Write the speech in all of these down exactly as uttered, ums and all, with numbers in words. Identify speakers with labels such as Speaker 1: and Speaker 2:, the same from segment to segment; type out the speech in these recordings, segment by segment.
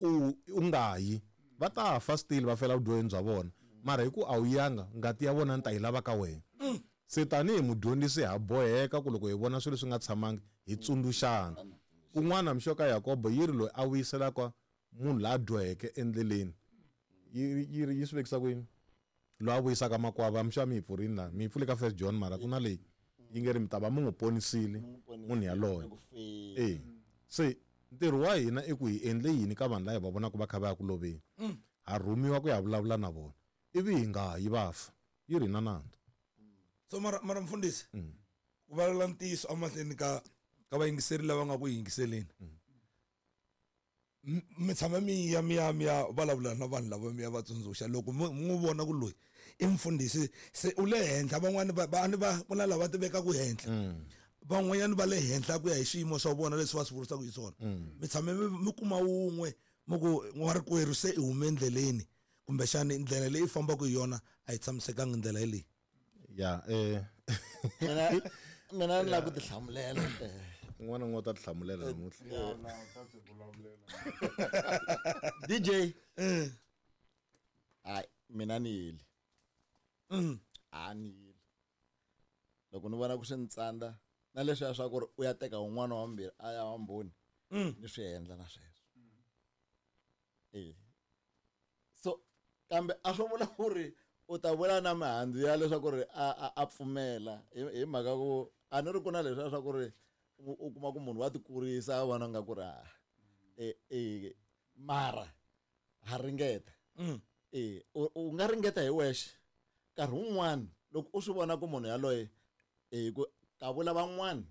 Speaker 1: U u nga yi va ta fa still va fela vudyoheni bya vona mara hi ku a wu yanga ngati ya vona ni ta yi lava ka wena. Se tanihi mudyondzisi ha boheka ku loko hi vona swilo leswi nga tshamangi hi tsundzuxana. Kun'wana mixoka Yakobo yi ri loyi a vuyiselaka munhu la dyoheke endleleni yi yi yi swi vekisa ku yini loyi a vuyisaka makwava mixo mi yi pfurini la mi yi pfule ka First John mara ku na leyi yi nge ri mi ta va mi n'wi ponisile munhu yaloye. E se ntirho wa hina i ku hi endle yini ka vanhu lava hi va vonaka va kha va ya ku loveni, ha rhumiwa ku ya vulavula na vona ivi hi nga yi va fa yi ri na nandzu.
Speaker 2: So mara mara mfundhisi ku vulavula ntiyiso emahlweni ka ka vayingiseri lava nga ku yingiseleni, mi tshama mi ya mi ya mi ya vulavula na vanhu lava mi ya va tsundzuxa loko mi n'wi vona ku loyi i mfundhisi se u le henhla, van'wani va va va ku na lava tivekaka henhla, van'wanyana va le henhla ku ya hi swiyimo swa vona leswi va swi vurisaka hi swona. Mi tshame mi kuma wun'we mi ku n'warikwerhu se i hume endleleni kumbexani ndlela leyi fambaka hi yona a yi tshamisekanga ndlela yeleyi.
Speaker 1: Ya eh
Speaker 3: mina mina ni lava ku tihlamulela.
Speaker 1: Un'wana un'wana u ta tihlamulela namuntlha.
Speaker 4: Ya na u ta tivulavulela.
Speaker 3: D J hayi mina ni yile. A ni yile. Loko ni vona ku swi ni tsandza na leswiya swa ku ri u ya teka un'wana wa mbirhi a ya wa mbhoni ni swi endla na sweswo. Eh so kambe a swo vula ku ri u ta vula na mihandzu ya leswaku ri a a pfumela hi mhaka ku a ni ri ku na leswiya swa ku ri u kuma ku munhu wa tikurisa a vona nga ku ri a e e mara ha ringeta. E u nga ringeta hi wexe nkarhi wun'wana loko u swi vona ku munhu yaloye e ku ka vula van'wana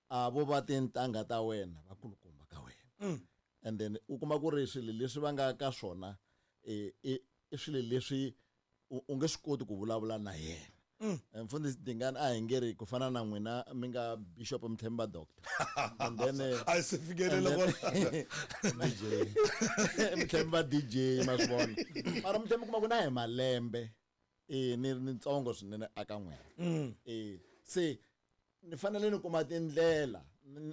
Speaker 3: a vo va tintangha ta wena vakulukumba ka wena, and then u kuma ku ri swilo leswi va nga ka swona e i swilo leswi u nge swi koti ku vulavula na yena. Mfundhisi Dingani a hi nge ri ku fana na n'wina mi nga Bishop Mthemba doctor and then
Speaker 2: a se fikelela
Speaker 3: kwala D J Mthemba D J ma swi vona mara Mthemba kuma ku na hi malembe e ni ni ntsongo swinene aka n'wina. E se ni fanele ni kuma tindlela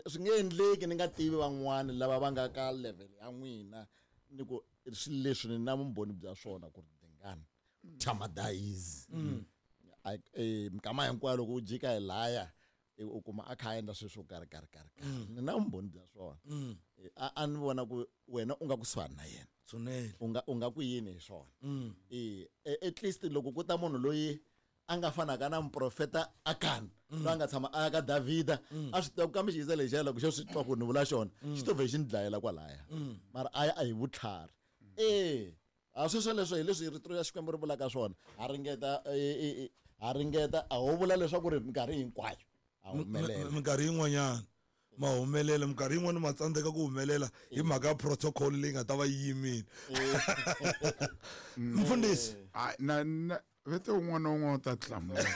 Speaker 3: swi nge endleki ni nga tivi van'wani lava va nga ka level ya n'wina ni ku swilo leswi ni na vumbhoni bya swona ku ri Dingani thamadayizi eh mikama hinkwayo loko u jika hi laya u kuma a kha a endla swilo swo karhi karhi karhi ni na vumbhoni bya swona. A a ni vona ku wena u nga kusuhani na yena
Speaker 2: swinene
Speaker 3: u nga u nga ku yini hi swona. Eh at least loko ku ta munhu loyi a nga fanaka na muprofeta Akan loyi a nga tshama a ya ka Davhida a swi tiva ku kambe xiyisa lexiya loko xo swi twa ku ni vula xona xi to vhe xi ni dlayela kwalaya mara a ya a hi vutlhari. Eh a sweswo leswo hi leswi rito ya Xikwembu ri vulaka swona ha ringeta ha ringeta a ho vula leswaku ri minkarhi hinkwayo a humelela
Speaker 2: minkarhi yin'wanyana ma humelela minkarhi yin'wana ma tsandzeka ku humelela hi mhaka ya protocol leyi nga ta va yi yimile. Mfundhisi
Speaker 4: na na vete un'wana na un'wana u ta tihlamulela.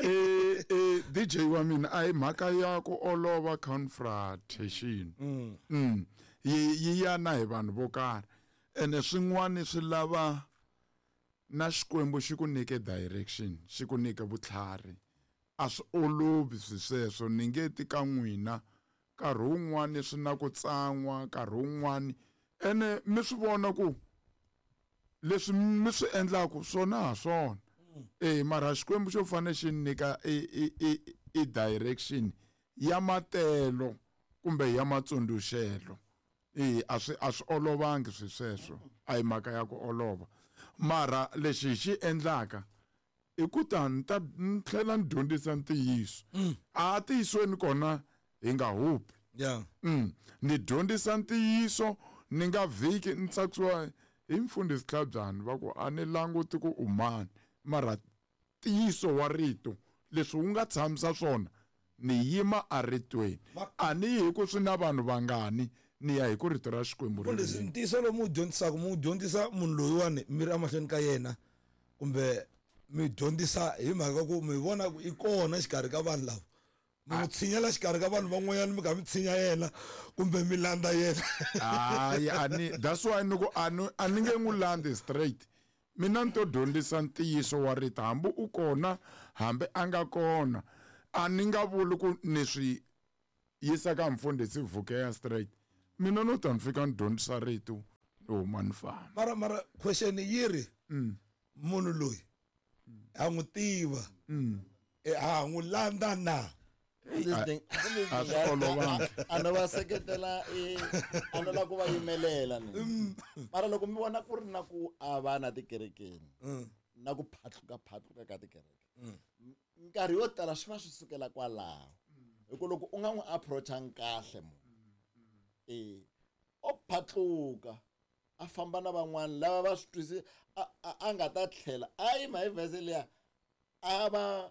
Speaker 4: Eh eh D J wa mina a hi mhaka ya ku olova confrontation. Mm yi yi ya na hi vanhu vo karhi ene swin'wana swi lava na Xikwembu xi ku nyike direction xi ku nyike vutlhari a swi olovi swi sweswo ni nge ti ka n'wina nkarhi wun'wani swi na ku tsan'wa nkarhi wun'wani ene mi swi vona ku leswi mi swi endlaku swona ha swona. Eh mara Xikwembu xo fanele xi nyika i i i direction ya matelo kumbe ya matsundzuxelo. Eh a swi a swi olovangi swi sweswo a hi mhaka ya ku olova mara lexi hi xi endlaka i ku ta ni ta ni tlhela ni dyondzisa ntiyiso a tiyisweni kona hi nga hupi.
Speaker 2: Yeah
Speaker 4: mm ni dyondzisa ntiyiso ni nga vhiki ni tsakisiwa hi mfundhisi Tlhabyani va ku a ni languti ku u mani mara ntiyiso wa rito leswi wu nga tshamisa swona ni yima aritweni a ni yi hi ku swi na vanhu vangani ni ya hi ku rito ra Xikwembu
Speaker 2: ri. Mfundhisi ntiyiso lowu mi wu dyondzisaka mi wu dyondzisa munhu loyiwani mi ri emahlweni ka yena kumbe mi dyondzisa hi mhaka ku mi vona ku i kona xikarhi ka vanhu lava mi n'wi tshinyela xikarhi ka vanhu van'wanyana mi kha mi tshinya yena kumbe mi landza yena?
Speaker 4: Hayi a ni that's why ni ku a ni a ni nge n'wi landzi straight mina ni to dyondzisa ntiyiso wa rito hambi u kona hambi a nga kona a ni nga vuli ku ni swi yisa ka mfundhisi Vukeya straight Mina no ta ni fika ni dyondzisa rito ni huma ni famba.
Speaker 2: Mara mara question yi ri munhu loyi ha n'wi tiva ha n'wi landza na
Speaker 4: a swi olovanga.
Speaker 3: A no va seketela a no lava ku va yimelela ni. Mara loko mi vona ku ri na ku avana tikerekeni na ku phatluka phatluka ka tikereke nkarhi yo tala swi va swi sukela kwalaho hi ku loko u nga n'wi approachangi kahle munhu eh o phatluka a famba na van'wana lava va swi twisi a nga ta tlhela a yima hi vhese liya a va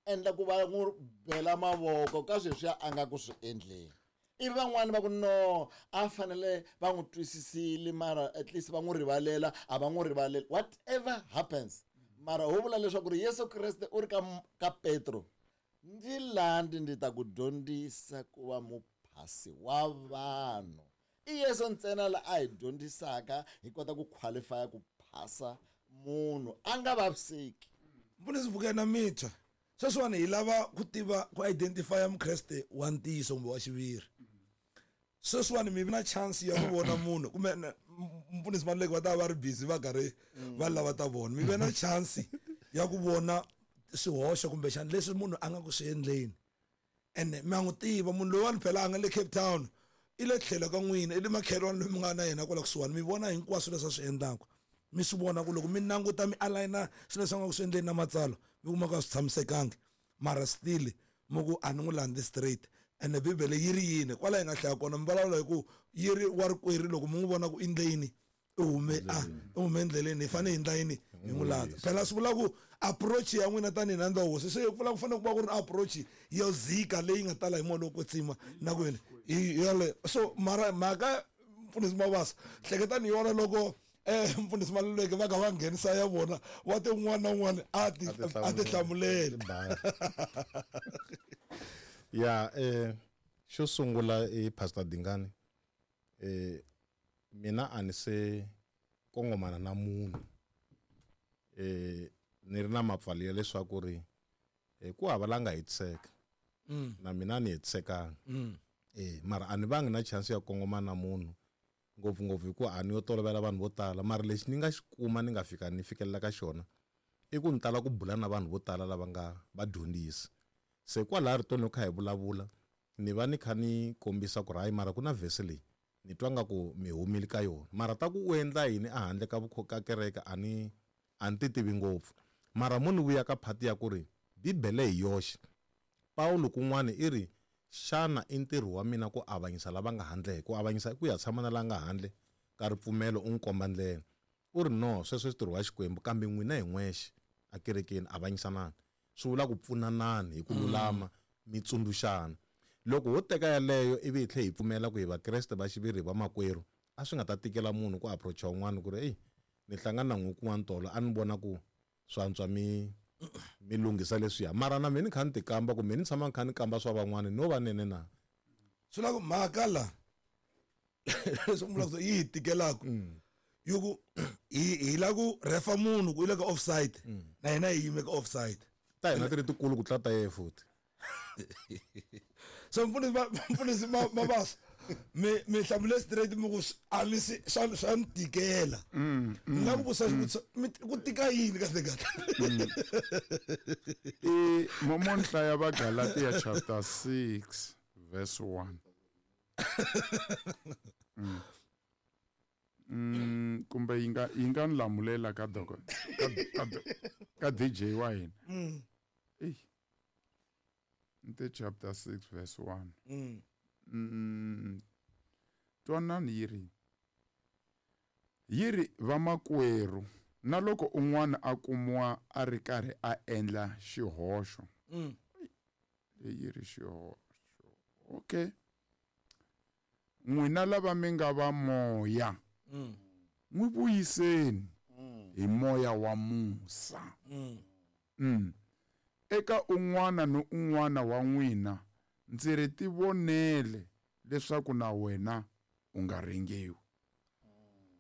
Speaker 3: endla ku va n'wi bela mavoko ka sweswiya a nga ku swi endleni ivi van'wani va ku no a fanele va n'wi twisisile mara at least va n'wi rivalela a va n'wi rivalela whatever happens mara ho vula leswaku ri Yesu Kreste u ri ka ka Petro ndzi landi ndzi ta ku dyondzisa ku va muphasi wa vanhu i Yesu ntsena la a hi dyondzisaka hi kota ku qualify ku phasa munhu a nga vaviseki.
Speaker 2: Mfundhisi Vukena Mitha sweswiwani hi lava ku tiva ku identify mukreste wa ntiyiso kumbe wa xiviri. Sweswiwani mi vi na chance ya ku vona munhu kumbe mfundhisi Maluleke va ta va ri busy va karhi va lava ta vona mi ve na chance ya ku vona swihoxo kumbexana leswi munhu a nga ku swi endleni ene mi nga n'wi tiva munhu loyiwani phela a nga le Cape Town i le tlhelo ka n'wina i le makhelwani loyi mi nga na yena kwala kusuhani mi vona hinkwaswo leswi a swi endlaka mi swi vona ku loko mi languta mi aligna swilo leswi a nga ku swi endleni na matsalwa mi kuma ku a swi tshamisekangi mara still mi ku a ni n'wi landzi straight ene bibele yi ri yini kwala hi nga hlaya kona mi vulavula hi ku yi ri wa rikwerhu loko mi n'wi vona ku i endle yini i hume a i hume endleleni hi fanele hi endla yini hi n'wi landza phela swi vula ku approach ya n'wina tanihi nandza wa hosi se vula ku fanele ku va ku ri approach yo zika leyi nga tala hi moya lowo kwetsima na ku yini hi yale so mara mhaka mfundhisi Mabasa hleketani yona loko eh mfundhisi Maluleke va ka va nghenisa ya vona wa te un'wana na un'wana a ti a ti hlamulela
Speaker 1: ya eh xo sungula i Pastor Dingani eh mina a ni se kongomana na munhu eh ni ri na mapfalo ya leswaku ri ku hava la nga hetiseka na mina ni hetisekanga eh mara a ni vangi na chance ya kongomana na munhu ngopfungopfu hikuva a ni yo tolovela vanhu vo tala mara lexi ni nga xi kuma ni nga fika ni fikelela ka xona i ku ni tala ku bula na vanhu vo tala lava nga vadyondzisi se kwalaya ritoni loko kha hi vulavula ni va ni kha ni kombisa ku ri hayi mara ku na vhese leyi ni twa nga ku mi humile ka yona mara ta ku u endla yini ehandle ka ka kereke a ni a ni ti tivi ngopfu mara mo ni vuya ka phati ya ku ri bibele hi yoxe Pawulo kun'wana i ri xana i ntirho wa mina ku avanyisa lava nga handle ku avanyisa i ku ya tshama na la nga handle ka ripfumelo u n'wi komba ndlela u ri no sweswo i ntirho wa Xikwembu kambe n'wina hi n'wexe ekerekeni avanyisanani swi vula ku pfunanani hi ku lulama mi tsundzuxana loko ho teka yaleyo ivi hi tlhela hi pfumela ku hi vakreste va xiviri hi vamakwerhu a swi nga ta tikela munhu ku approacha un'wana ku ri eyi ni hlangana na n'wi kun'wana tolo a ni vona ku swantswa mi mi lunghisa leswiya mara na mina ni kha ni tikamba kumbe ni tshama ni kha ni kamba swa van'wana no va nene na
Speaker 2: swi lava ku mhaka la leswi mi vulaka ku yi hi tikelaka yo ku hi hi lava ku refa munhu ku i le ka offside na hina hi yime ka offside
Speaker 1: ta hina ti ri tikulu ku tlula ta yehe futhi
Speaker 2: so mfundhisi mfundhisi Mabasa mi mi hlamule straight mi ku a mi si swa swa ni tikela ni nga ku vutisa xivutiso ku tika yini kahle kahle
Speaker 4: i mo nhlaya va Galatia chapter six verse one mm. Mm, kumbe yi nga yi nga ni lamulela ka doko ka ka, ka D J wa hina mm. Ey nte chapter six verse one mm. Mm. Twanani yi ri yi ri vamakwerhu na loko un'wana a kumiwa a ri karhi a endla xihoxo mm. Leyi ri xihoxo okay n'wina lava mi nga va moya n'wi vuyiseni hi moya wa musa mm. Eka un'wana ni un'wana wa n'wina ndzi ri tivonele leswaku na wena u nga ringiwi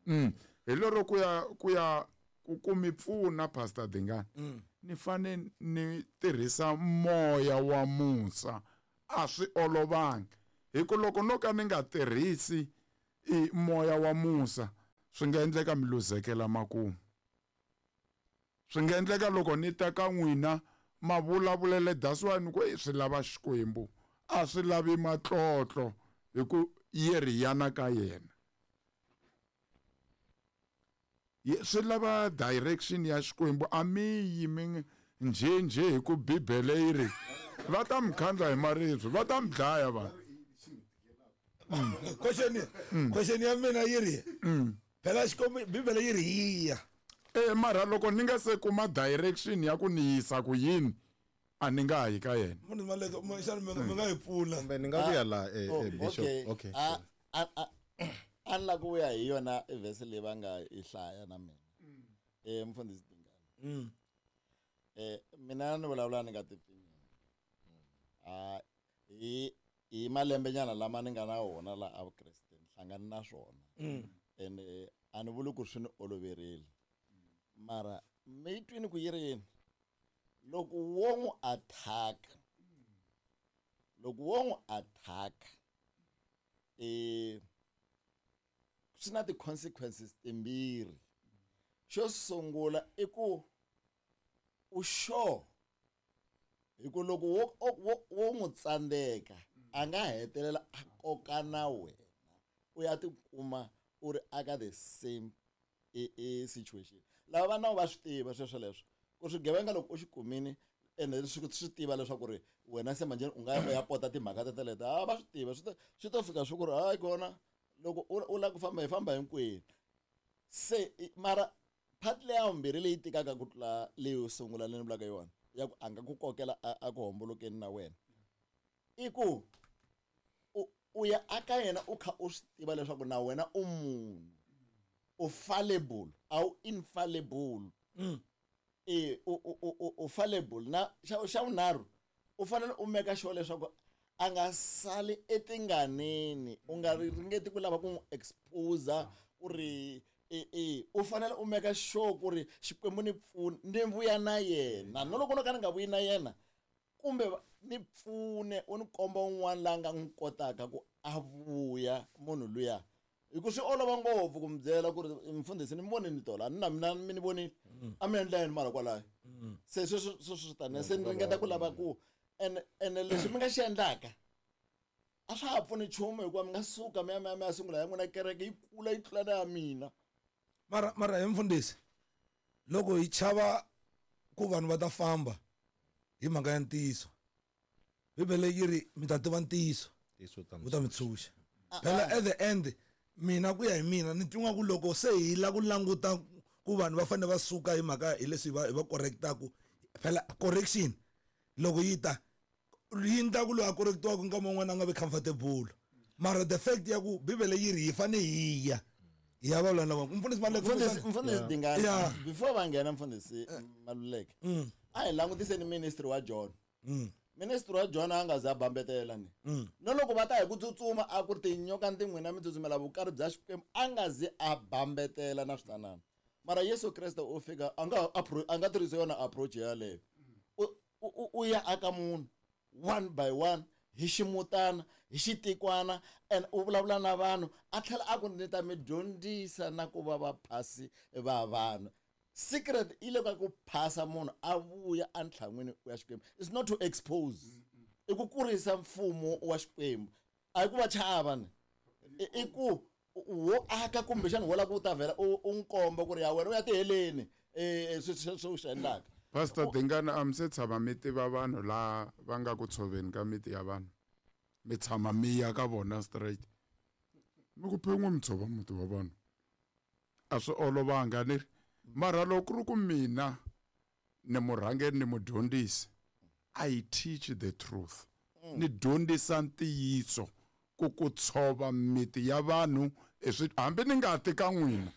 Speaker 4: mm. Hi lero ku ya ku ya ku ku mi pfuna Pastor Dingani mm. Ni fane ni tirhisa moya wa musa a swi olovangi hi ku loko no ka ni nga tirhisi i moya wa musa swi nga endleka mi luzekela makumu swi nga endleka loko ni ta ka n'wina ma vulavulele that's why ni ku swi lava Xikwembu a swi lavi matlotlo hi ku yi ri yana ka yena swi lava direction ya Xikwembu a mi yi mi nje nje hi ku Bibele yi ri va ta mi khandla hi maribye va ta mi dlaya vanhu
Speaker 2: question question ya mina yi ri phela Xikwembu Bibele yi ri yiya
Speaker 4: eh mara loko ni nga se kuma direction ya ku ni yisa ku yini a ni nga yi ka yena
Speaker 2: munhu maleka xana mi nga yi pfula
Speaker 1: kumbe ni nga vuya la eh bishop okay
Speaker 3: a a a ni la ku vuya hi yona verse leyi va nga yi hlaya na mina eh mfundhisi Dingane eh mina ni vulavula ni nga tipfinyingi a hi hi malembenyana lama ni nga na wona la a Vukreste ni hlangane na swona ene a ni vuli ku swi ni oloverile mara mi twini ku yi ri yini loko wo n'wi attack loko wo n'wi attack eh swi na ti-consequences timbirhi xo sungula i ku u sure hi ku loko wo wo n'wi tsandzeka a nga hetelela a koka na wena u ya tikuma u ri aka the same e, e situation lava va nawu va swi tiva sweswo leswo ku swigevenga loko u xi kumini ene swi swi tiva leswaku ri wena se manjheni u nga ya u ya pota timhaka teteleto a va swi tiva swi swi to fika swi ku ri hayi kona loko u lava ku famba hi famba hinkwenu se mara part leya vumbirhi leyi tikaka ku tlula leyo sungula leyi ni vulaka yona ya ku a nga ku kokela a ku hombolokeni na wena i ku u ya aka yena u kha u swi tiva leswaku na wena u munhu u fallible a wu infallible e u u u fallible na xa xa vunharhu u fanele u meka sure leswaku a nga sali etinganeni u nga ringeti ku lava ku n'wi expose ku ri e e u fanele u meka sure ku ri Xikwembu ni pfune ni vuya na yena no loko no ka ni nga vuyi na yena kumbe ni pfune u ni komba un'wana la nga n'wi kotaka ku a vuya munhu luya hi ku swi olova ngopfu ku mi byela ku ri mfundhisi ni mi vonini tolo a ni na mina mi ni vonile a mi endla yini mara kwalayo se sweswo sweswo swi tani se ni ringeta ku lava ku ene ene lexi mi nga xi endlaka a swa ha pfuni nchumu hikuva mi nga suka mi ya mi ya mi ya sungula ya n'wina kereke yi kula yi tlula na ya mina
Speaker 2: mara mara hi mfundhisi loko hi chava ku vanhu va ta famba hi mhaka ya ntiyiso Bibele yi ri mi ta tiva ntiyiso wu ta mi tshunxa phela at the end mina ku ya hi mina ni twa ku loko se hi la ku languta ku vanhu va fanele va suka hi mhaka hi leswi va hi va correctaku phela correction loko yi ta yi endla ku loyi a correctiwaka nkama wun'wana a nga vi comfortable mara the fact ya ku Bibele yi ri hi fane hi ya hi ya vulavula na vanhu mfundhisi Maluleke
Speaker 3: mfundhisi Dingane before va nghena mfundhisi Maluleke a hi langutiseni ministry wa John ministry wa John a nga za bambetela ni no loko va ta hi ku tsutsuma a ku ri tinyoka tin'wina mi tsutsumela vukari bya Xikwembu a nga zi a bambetela na switanana mara Yesu Kreste u fika a nga a nga tirhisi yona approach yaleyo u u ya aka munhu one by one hi ximutana hi xitikwana and u vulavula na vanhu a tlhela a ku ni ta mi dyondzisa na ku va vaphasi va vanhu secret i le ka ku phasa munhu a vuya entlhan'wini wa Xikwembu it's not to expose i ku kurisa mfumo wa Xikwembu a hi ku va chava ni i ku wo aka kumbexana wo lava ku ta vhela u n'wi komba ku ri ya wena u ya tiheleni um sweswi u swi endlaka
Speaker 4: Pastor Dingane a mi se tshama mi tiva vanhu la va nga ku tshoveni ka miti ya vanhu mi tshama mi ya ka vona straight mi ku phen'we mi tshova muti wa vanhu a swi olovanga ni ri mara loko ku ri ku mina ni murhangeri ni mudyondzisi I teach the truth ni dyondzisa ntiyiso ku ku tshova miti ya vanhu hambi ni nga ti ka n'wina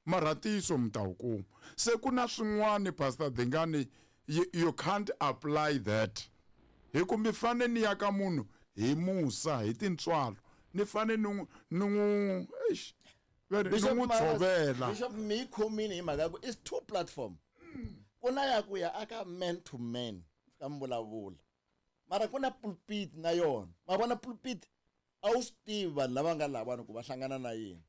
Speaker 4: mara ntiyiso mi ta wu kuma se ku na swin'wani Pastor Dingane you, you can't apply that hi ku mi fane ni ya ka munhu hi musa hi tintswalo ni fane ni ni n'wi eish ni n'wi tshovela
Speaker 3: Bishop mi khomini hi mhaka ya ku is two platform ku na ya ku ya aka man to man ka mvulavula mara ku na pulpit na yona ma vona pulpit A wu swi tivi vanhu lava nga lavani ku va hlangana na yini.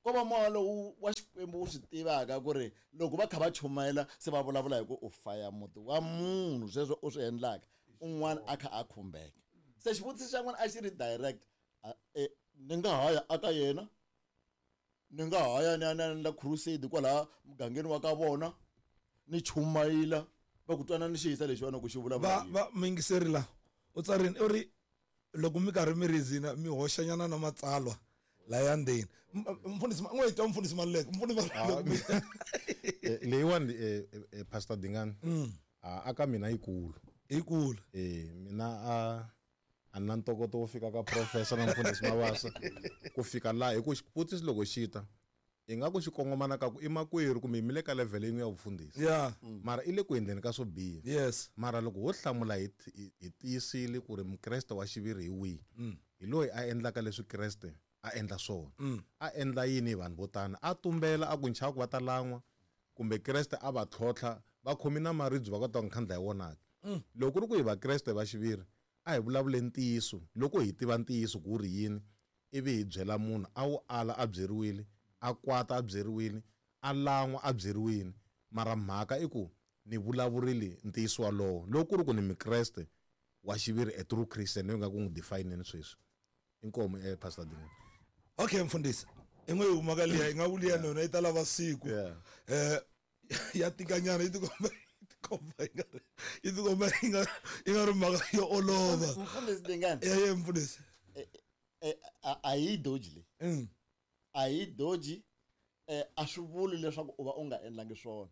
Speaker 3: Ko va moya lowu wa Xikwembu wu swi tivaka ku ri loko va kha va chumayela se va vulavula hi ku u faya muti wa munhu sweswo u swi endlaka un'wana a kha a khumbeka. Se xivutiso xa n'wina a xi ri direct, ni nga ha ya aka yena, ni nga ha ya ni ya ni ya endla crusade kwalaha mugangeni wa ka vona ni chumayela va ku twana ni xiyisa lexiwani ku xi vulavula
Speaker 2: va
Speaker 3: yini.
Speaker 2: va muyingiseri la u tsarini u ri loko mi karhi mi rizina mi hoxanyana na matsalwa laya ndzeni. Mfundhisi n'we twa mfundhisi Maluleke, mfundhisi Maluleke.
Speaker 1: Leyiwani Pastor Dingani a ka mina yikulu.
Speaker 2: Yikulu.
Speaker 1: Eh mina a a na ntokoto wo fika ka professor na mfundhisi Mabasa ku fika laha hi ku xivutiso loko xi ta i nga ku xi kongomana ka ku i makwerhu kumbe mi le ka level yin'we ya vufundhisi.
Speaker 2: Yeah.
Speaker 1: Mara i le ku endleni ka swo biha.
Speaker 2: Yes.
Speaker 1: Mara loko ho hlamula hi hi tiyisile ku ri mukreste wa xiviri hi wihi, hi loyi a endlaka leswi Kreste a endla swona. A endla yini hi vanhu vo tani? A tumbela a ku nchava ku va ta lan'wa kumbe Kreste a va tlhontlha va khomi na maribye va kota ku nkhandla hi wona ke. Loko ku ri ku hi vakreste va xiviri a hi vulavule ntiyiso loko hi tiva ntiyiso ku ri yini ivi hi byela munhu a wu ala a byeriwile, a kwata a byeriwile, a lan'wa a byeriwile, mara mhaka i ku ni vulavurile ntiyiso walowo. Loko ku ri ku ni mukreste wa xiviri a true Christian leyi nga ku n'wi define-ni sweswi. Inkomu eh Pastor Dingani.
Speaker 2: Okay mfundhisi, i n'we yi humaka liya i nga ku liya nona yi ta lava siku. Eh ya tikanyana yi tikomba yi tikomba yi nga ri yi tikomba yi nga yi nga ri mhaka yo olova.
Speaker 3: Mfundhisi Dingani.
Speaker 2: Ya ye mfundhisi.
Speaker 3: A yi doji leyi.
Speaker 2: Mm.
Speaker 3: A yi doji eh a swi vuli leswaku u va u nga endlangi swona.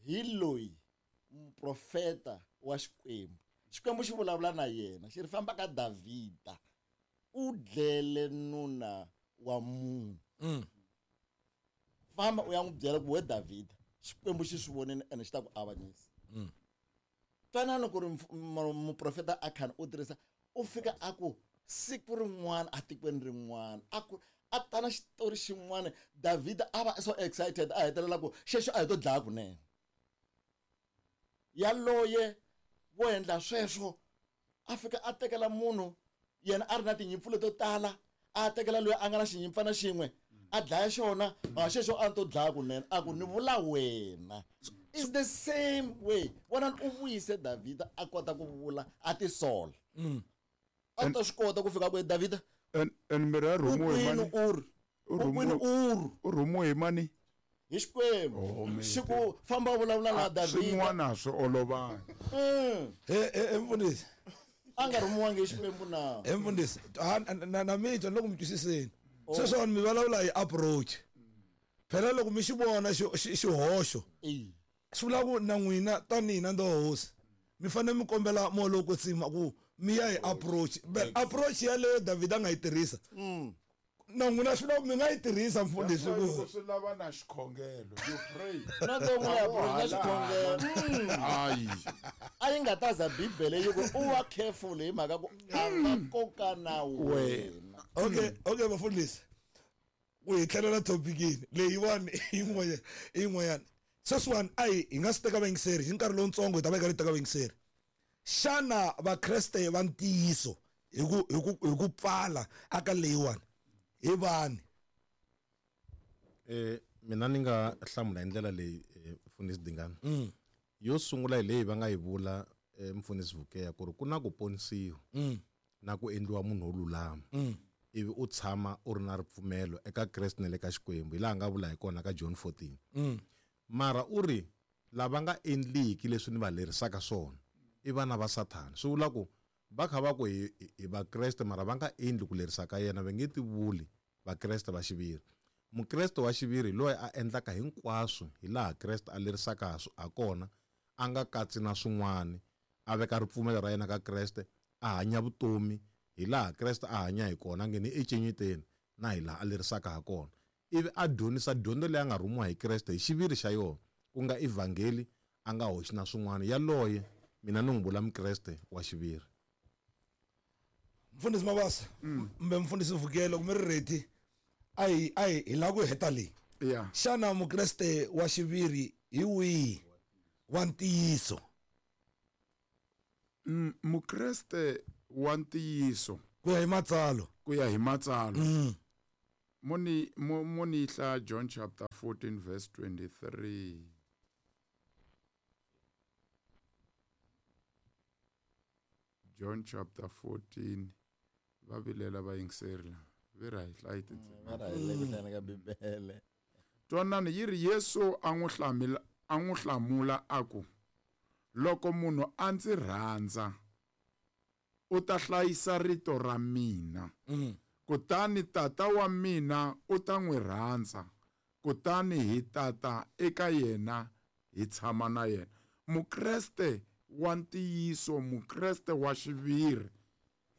Speaker 3: Hi loyi muprofeta wa Xikwembu. Xikwembu xi vulavula na yena, xi ri famba ka Davhida. U dlele nuna wa munhu. Famba u ya n'wi byela ku we Davhida, Xikwembu xi swi vonile ene xi ta ku avanyisa. Twanana ku ri muprofeta Akhani u tirhisa u fika a ku siku rin'wana atikweni rin'wana a ku a tana xitori xin'wana Davhida a va so excited a hetelela ku xexo a hi to dlaya kunene. Yaloye wo endla sweswo a fika a tekela munhu yena a ri na tinyimpfu leto tala a tekela loyi a nga na xinyimpfana xin'we a dlaya xona a xexo a to dlaya kunene a ku ni vula wena. It's the same way. Vona u vuyise Davhida a kota ku vula a tisola. A ta swi kota ku fika ku Davhida
Speaker 4: and and mira rhumiwe hi mani?
Speaker 3: U rhumiwe
Speaker 4: U rhumiwe hi mani?
Speaker 3: Hi Xikwembu. Xi ku famba vulavula na Davhida.
Speaker 4: Swin'wana swi olovanga.
Speaker 2: He he mfundhisi.
Speaker 3: A nga rhumiwangi hi Xikwembu na.
Speaker 2: He mfundhisi, na na mi twa loko mi twisiseni. Sweswo mi vulavula hi approach. Phela loko mi xi vona xihoxo, swi vula ku na n'wina tanihi na hosi mi fanele mi kombela moya lowo kwetsima ku mi ya hi approach. But approach yaleyo Davhida a nga yi tirhisa. Na n'wina swi vula ku mi nga yi tirhisa mfundhisi ku
Speaker 4: swi lava na xikhongelo. You pray.
Speaker 3: Na to n'wina approach na xikhongelo.
Speaker 4: Hayi.
Speaker 3: A yi nga ta za Bibele yi ku u va careful hi mhaka ku a nga koka na wena.
Speaker 2: Okay, okay mfundhisi. Ku hi tlhelela topicini leyiwani yin'wanyana yin'wanyana. Sweswiwani a hi hi nga swi teka vayingiseri hi nkarhi lowutsongo hi ta va hi karhi hi teka vayingiseri. Xana vakreste va ntiyiso hi ku hi ku hi ku pfala aka leyiwani hi vani?
Speaker 1: Eh mina ni nga hlamula hi ndlela leyi mfundhisi Dingani. Yo sungula hi leyi va nga yi vula mfundhisi Vukeya ku ri ku na ku ponisiwa na ku endliwa munhu wo lulama. Ivi u tshama u ri na ripfumelo eka Kreste na le ka Xikwembu hi laha nga vula hi kona ka John fourteen. Mara u ri lava nga endliki leswi ni va lerisaka swona i vana va Sathana. Swi vula ku va kha va ku hi hi vakreste mara va nga endli ku lerisa ka yena, va nge tivuli vakreste va xiviri. Mukreste wa xiviri loyi a endlaka hinkwaswo hi laha Kreste a lerisaka ha kona, a nga katsi na swin'wana, a veka ripfumelo ra yena ka Kreste, a hanya vutomi hi laha Kreste a hanya hi kona, a ngheni ecenyeteni na hi laha a lerisaka ha kona. Ivi a dyondzisa dyondzo leyi a nga rhumiwa hi Kreste hi xiviri xa yona, ku nga evhangeli, a nga hoxi na swin'wana. Yaloye mina ni n'wi vula mukreste wa xiviri.
Speaker 2: Mfundhisi Mabasa kumbe mfundhisi Vukelo kumbe ri ready a hi a hi hi lava ku heta leyi.
Speaker 4: Yeah.
Speaker 2: Xana mukreste wa xiviri hi wihi wa ntiyiso?
Speaker 4: Mukreste wa ntiyiso
Speaker 2: Ku ya hi matsalo.
Speaker 4: Ku ya hi matsalo.
Speaker 2: Mm.
Speaker 4: Moni moni hla John chapter fourteen verse twenty-three. John chapter fourteen va vilela va yingiseri la ve ra hi hlayi
Speaker 3: Va ra hi le ku hlayeni ka Bibele.
Speaker 4: Twanani yi ri Yesu a n'wi hlamula a n'wi hlamula a ku loko munhu a ndzi rhandza u ta hlayisa rito ra mina.
Speaker 2: Mm.
Speaker 4: Kutani tata wa mina u ta n'wi rhandza kutani hi tata eka yena hi tshama na yena. Mukreste wa ntiyiso, mukreste wa xiviri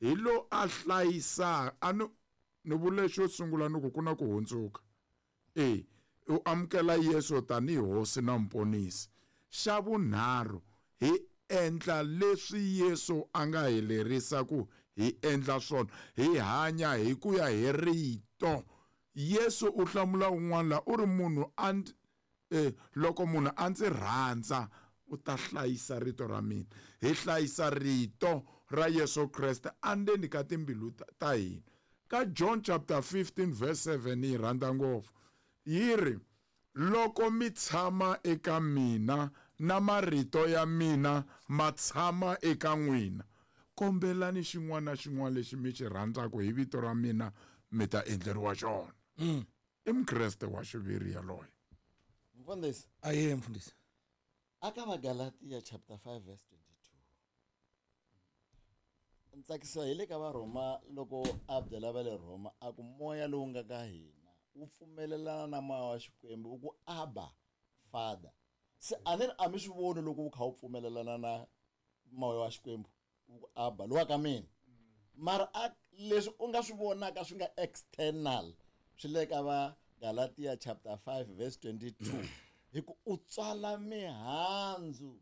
Speaker 4: hi lo a hlayisa a ni ni vule xo sungula ni ku ku na ku hundzuka. E u amukela Yesu tanihi hosi na muponisi. Xa vunharhu hi endla leswi Yesu a nga hi lerisa ku hi endla swona, hi hanya hi ku ya hi rito. Yesu u hlamula un'wana la u ri munhu a eh, loko munhu a ndzi rhandza u ta hlayisa rito ra mina. Hi hlayisa rito ra Yesu Kreste andzeni ka timbilu ta hina. Ka John chapter fifteen verse seven yi rhandza ngopfu yi ri loko mi tshama eka mina na marito ya mina ma tshama eka n'wina, kombelani xin'wana na xin'wana lexi mi xi rhandzaka hi vito ra mina mi ta endleriwa xona.
Speaker 2: Mm.
Speaker 4: I mukreste wa xiviri yaloye.
Speaker 3: Mfundhisi.
Speaker 2: Aye mfundhisi.
Speaker 3: Aka Vagalatia chapter five verse twenty-two. Ntsakisiwa hi le ka Varhoma loko a byela va le Rhoma a ku moya lowu nga ka hina wu pfumelelana na moya wa Xikwembu wu ku Abba Father. Se a ni ri a mi swi voni loko wu kha wu pfumelelana na moya wa Xikwembu wu ku Abba lowa ka mina. Mara a leswi u nga swi vonaka swi nga external swi le ka va Galatia chapter five verse twenty-two. Hi ku u tswala mihandzu.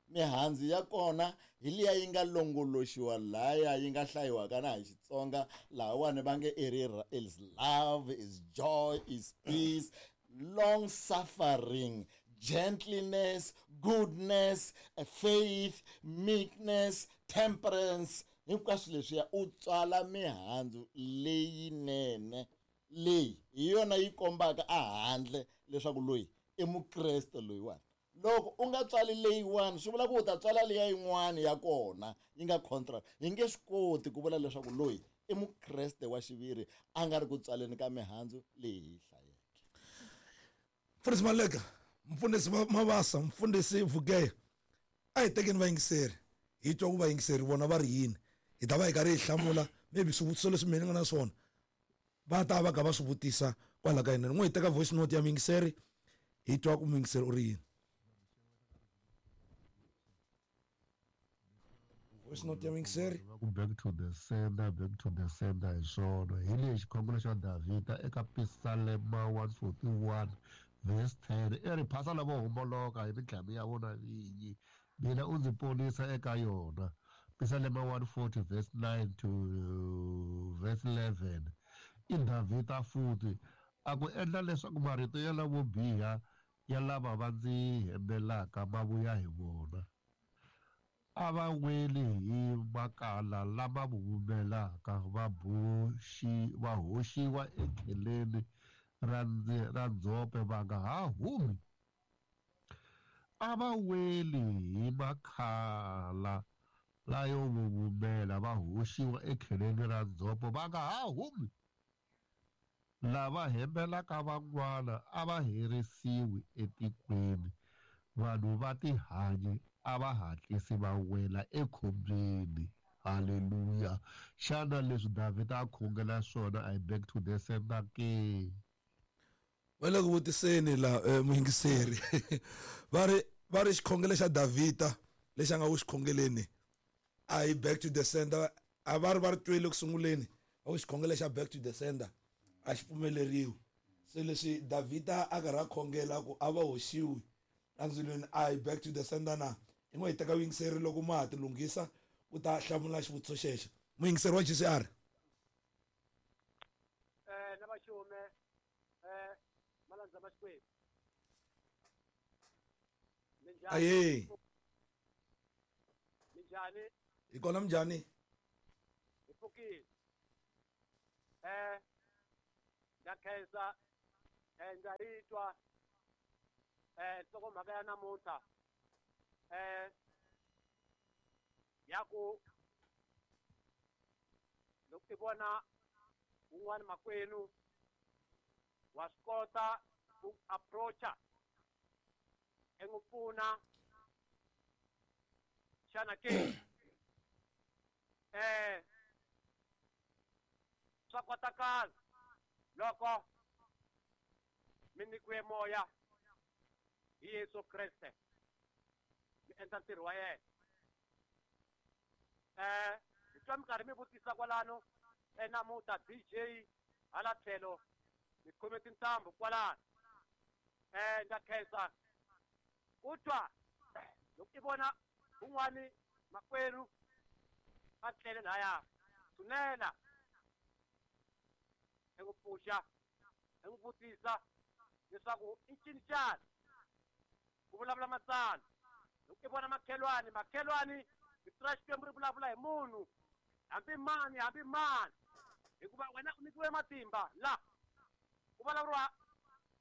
Speaker 3: Mihandzu ya kona hi liya yi nga longoloxiwa laya yi nga hlayiwaka na hi Xitsonga lahawani va nge i ri is love, is joy, is peace, long suffering, gentleness, goodness, faith, meekness, temperance. Hinkwaswo leswiya u tswala mihandzu leyinene leyi hi yona yi kombaka ehandle leswaku loyi i mukreste loyiwani. Loko u nga tswali leyiwani swi vula ku u ta tswala leya yin'wana ya kona yi nga contract. Hi nge swi koti ku vula leswaku loyi i mukreste wa xiviri a nga ri ku tswaleni ka mihandzu leyi hi hlayeke.
Speaker 2: Mfundhisi Maleka, mfundhisi Mabasa, mfundhisi Vugeya, a hi tekeni vayingiseri hi twa ku vayingiseri vona va ri yini. Hi ta va hi karhi hi hlamula maybe swivutiso leswi mina ni nga na swona va ta va ka va swi vutisa kwala ka hina. N'we hi teka voice note ya muyingiseri hi twa ku muyingiseri u ri yini. Voice note ya muyingiseri.
Speaker 5: Va ku back to the sender, back to the sender hi swona. Hi lexi xikhongelo xa Davhida eka Pisalema one forty-one verse ten. I ri phasa lavo homboloka hi mintlhamu ya vona vinyi, mina u ndzi ponisa eka yona. Pisalema one forty verse nine to verse eleven. I Davhida futhi a ku endla leswaku marito ya lavo biha ya lava va ndzi hembelaka ma vuya hi vona. A va weli hi makala lama vumelaka va boxi va hoxiwa ekheleni ra ra ndzhope va nga ha humi. A va weli hi makhala layo vuvumela va hoxiwa ekheleni ra ndzhope va nga ha humi. Lava hembelaka van'wana a va herisiwi etikweni, vanhu va tihanyi a va hatlisi va wela ekhombyeni. Haleluya. Xana leswi Davhida a khongela swona I back to the sender ke?
Speaker 2: Va le ku vutiseni la muyingiseri. Va ri va ri xikhongelo xa Davhida lexi a nga ku xikhongeleni I back to the sender. A va ri va ri twile ku sunguleni va ku xikhongelo xa back to the sender a xi pfumeleriwi. Se leswi Davhida a karhi a khongela ku a va hoxiwi endzilweni I back to the sender na. Hi n'we hi teka vuyingiseri loko ma ha ti lunghisa u ta hlamula xivutiso xexo. Muyingiseri wa G C R.
Speaker 6: Eh na vaxume eh malandza ma Xikwembu.
Speaker 2: Aye.
Speaker 6: Minjhani?
Speaker 2: Hi kona minjhani?
Speaker 6: Hi pfukile. Eh ndza khensa eh ndza yi twa eh nhlokomhaka ya namuntlha eh ya ku loko i vona un'wana makwenu wa swi kota ku approacha i n'wi pfuna xana ke eh swa kotakala loko mi nyikiwe moya hi Yesu Kreste mi endla ntirho wa yena. Eh hi twa mi karhi mi vutisa kwalano eh namuntlha D J hala tlhelo mi khome tintambu kwalano. Eh ndza khensa ku twa loko i vona un'wani makwerhu a tlele laya tshunela i n'wi pfuxa i n'wi vutisa leswaku i ncini xana ku vulavula matsalwa. Loko i vona makhelwani makhelwani rito ra Xikwembu ri vulavula hi munhu hambi mani hambi mani hikuva wena u nyikiwe matimba la ku vulavuriwa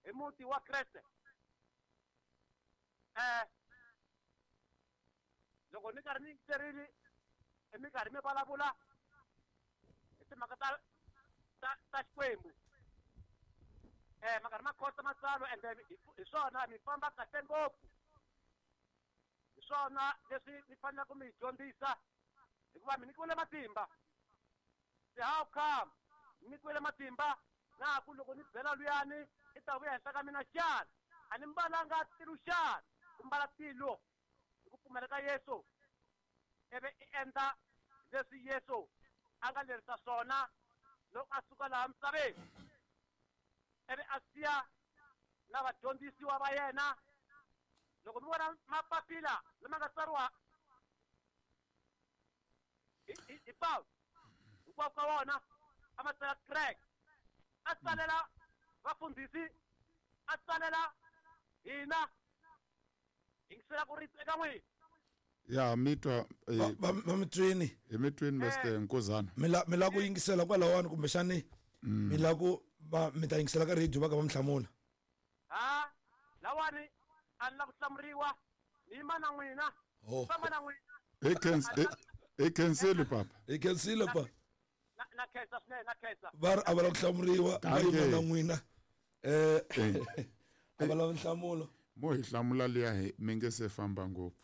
Speaker 6: hi muti wa Kreste. Eh loko ni karhi ni yingiserile i mi karhi mi vulavula hi timhaka ta ta ta Xikwembu eh ma karhi ma khotsa matsalwa ende hi swona mi famba kahle ngopfu. Hi swona leswi mi faneleke mi dyondzisa hikuva mi nyikiwile matimba. Se how come mi nyikiwile matimba na ku loko ni byela luyani i ta vuya henhla ka mina xana a ni mbalanga tilo xana ku mbala tilo hi ku pfumela ka Yesu ivi i endla leswi Yesu a nga lerisa swona loko a suka laha misaveni ivi a siya na vadyondzisiwa va yena. Loko mi vona mapapila lama nga tsariwa hi hi hi Pawulo hinkwako ka wona a ma tsala kereke a tsalela vafundhisi a tsalela hina yingisela ku rito eka n'wina.
Speaker 4: Ya mi twa
Speaker 2: va va mi twini
Speaker 4: hi mi twini Mister Nkuzana
Speaker 2: mi la mi la ku yingisela kwalawani kumbexani mi la ku va mi ta yingisela ka radio va ka va mi hlamula.
Speaker 6: Ha lawani a ni la ku hlamuriwa ni yima na n'wina famba na n'wina.
Speaker 4: Hi khensi hi khensile papa
Speaker 2: hi khensile pa
Speaker 6: na na khensa swinene na khensa
Speaker 2: va ri a va la ku hlamuriwa va yima na n'wina eh a va lava nhlamulo
Speaker 4: mo hi hlamula liya hi mi nge se famba ngopfu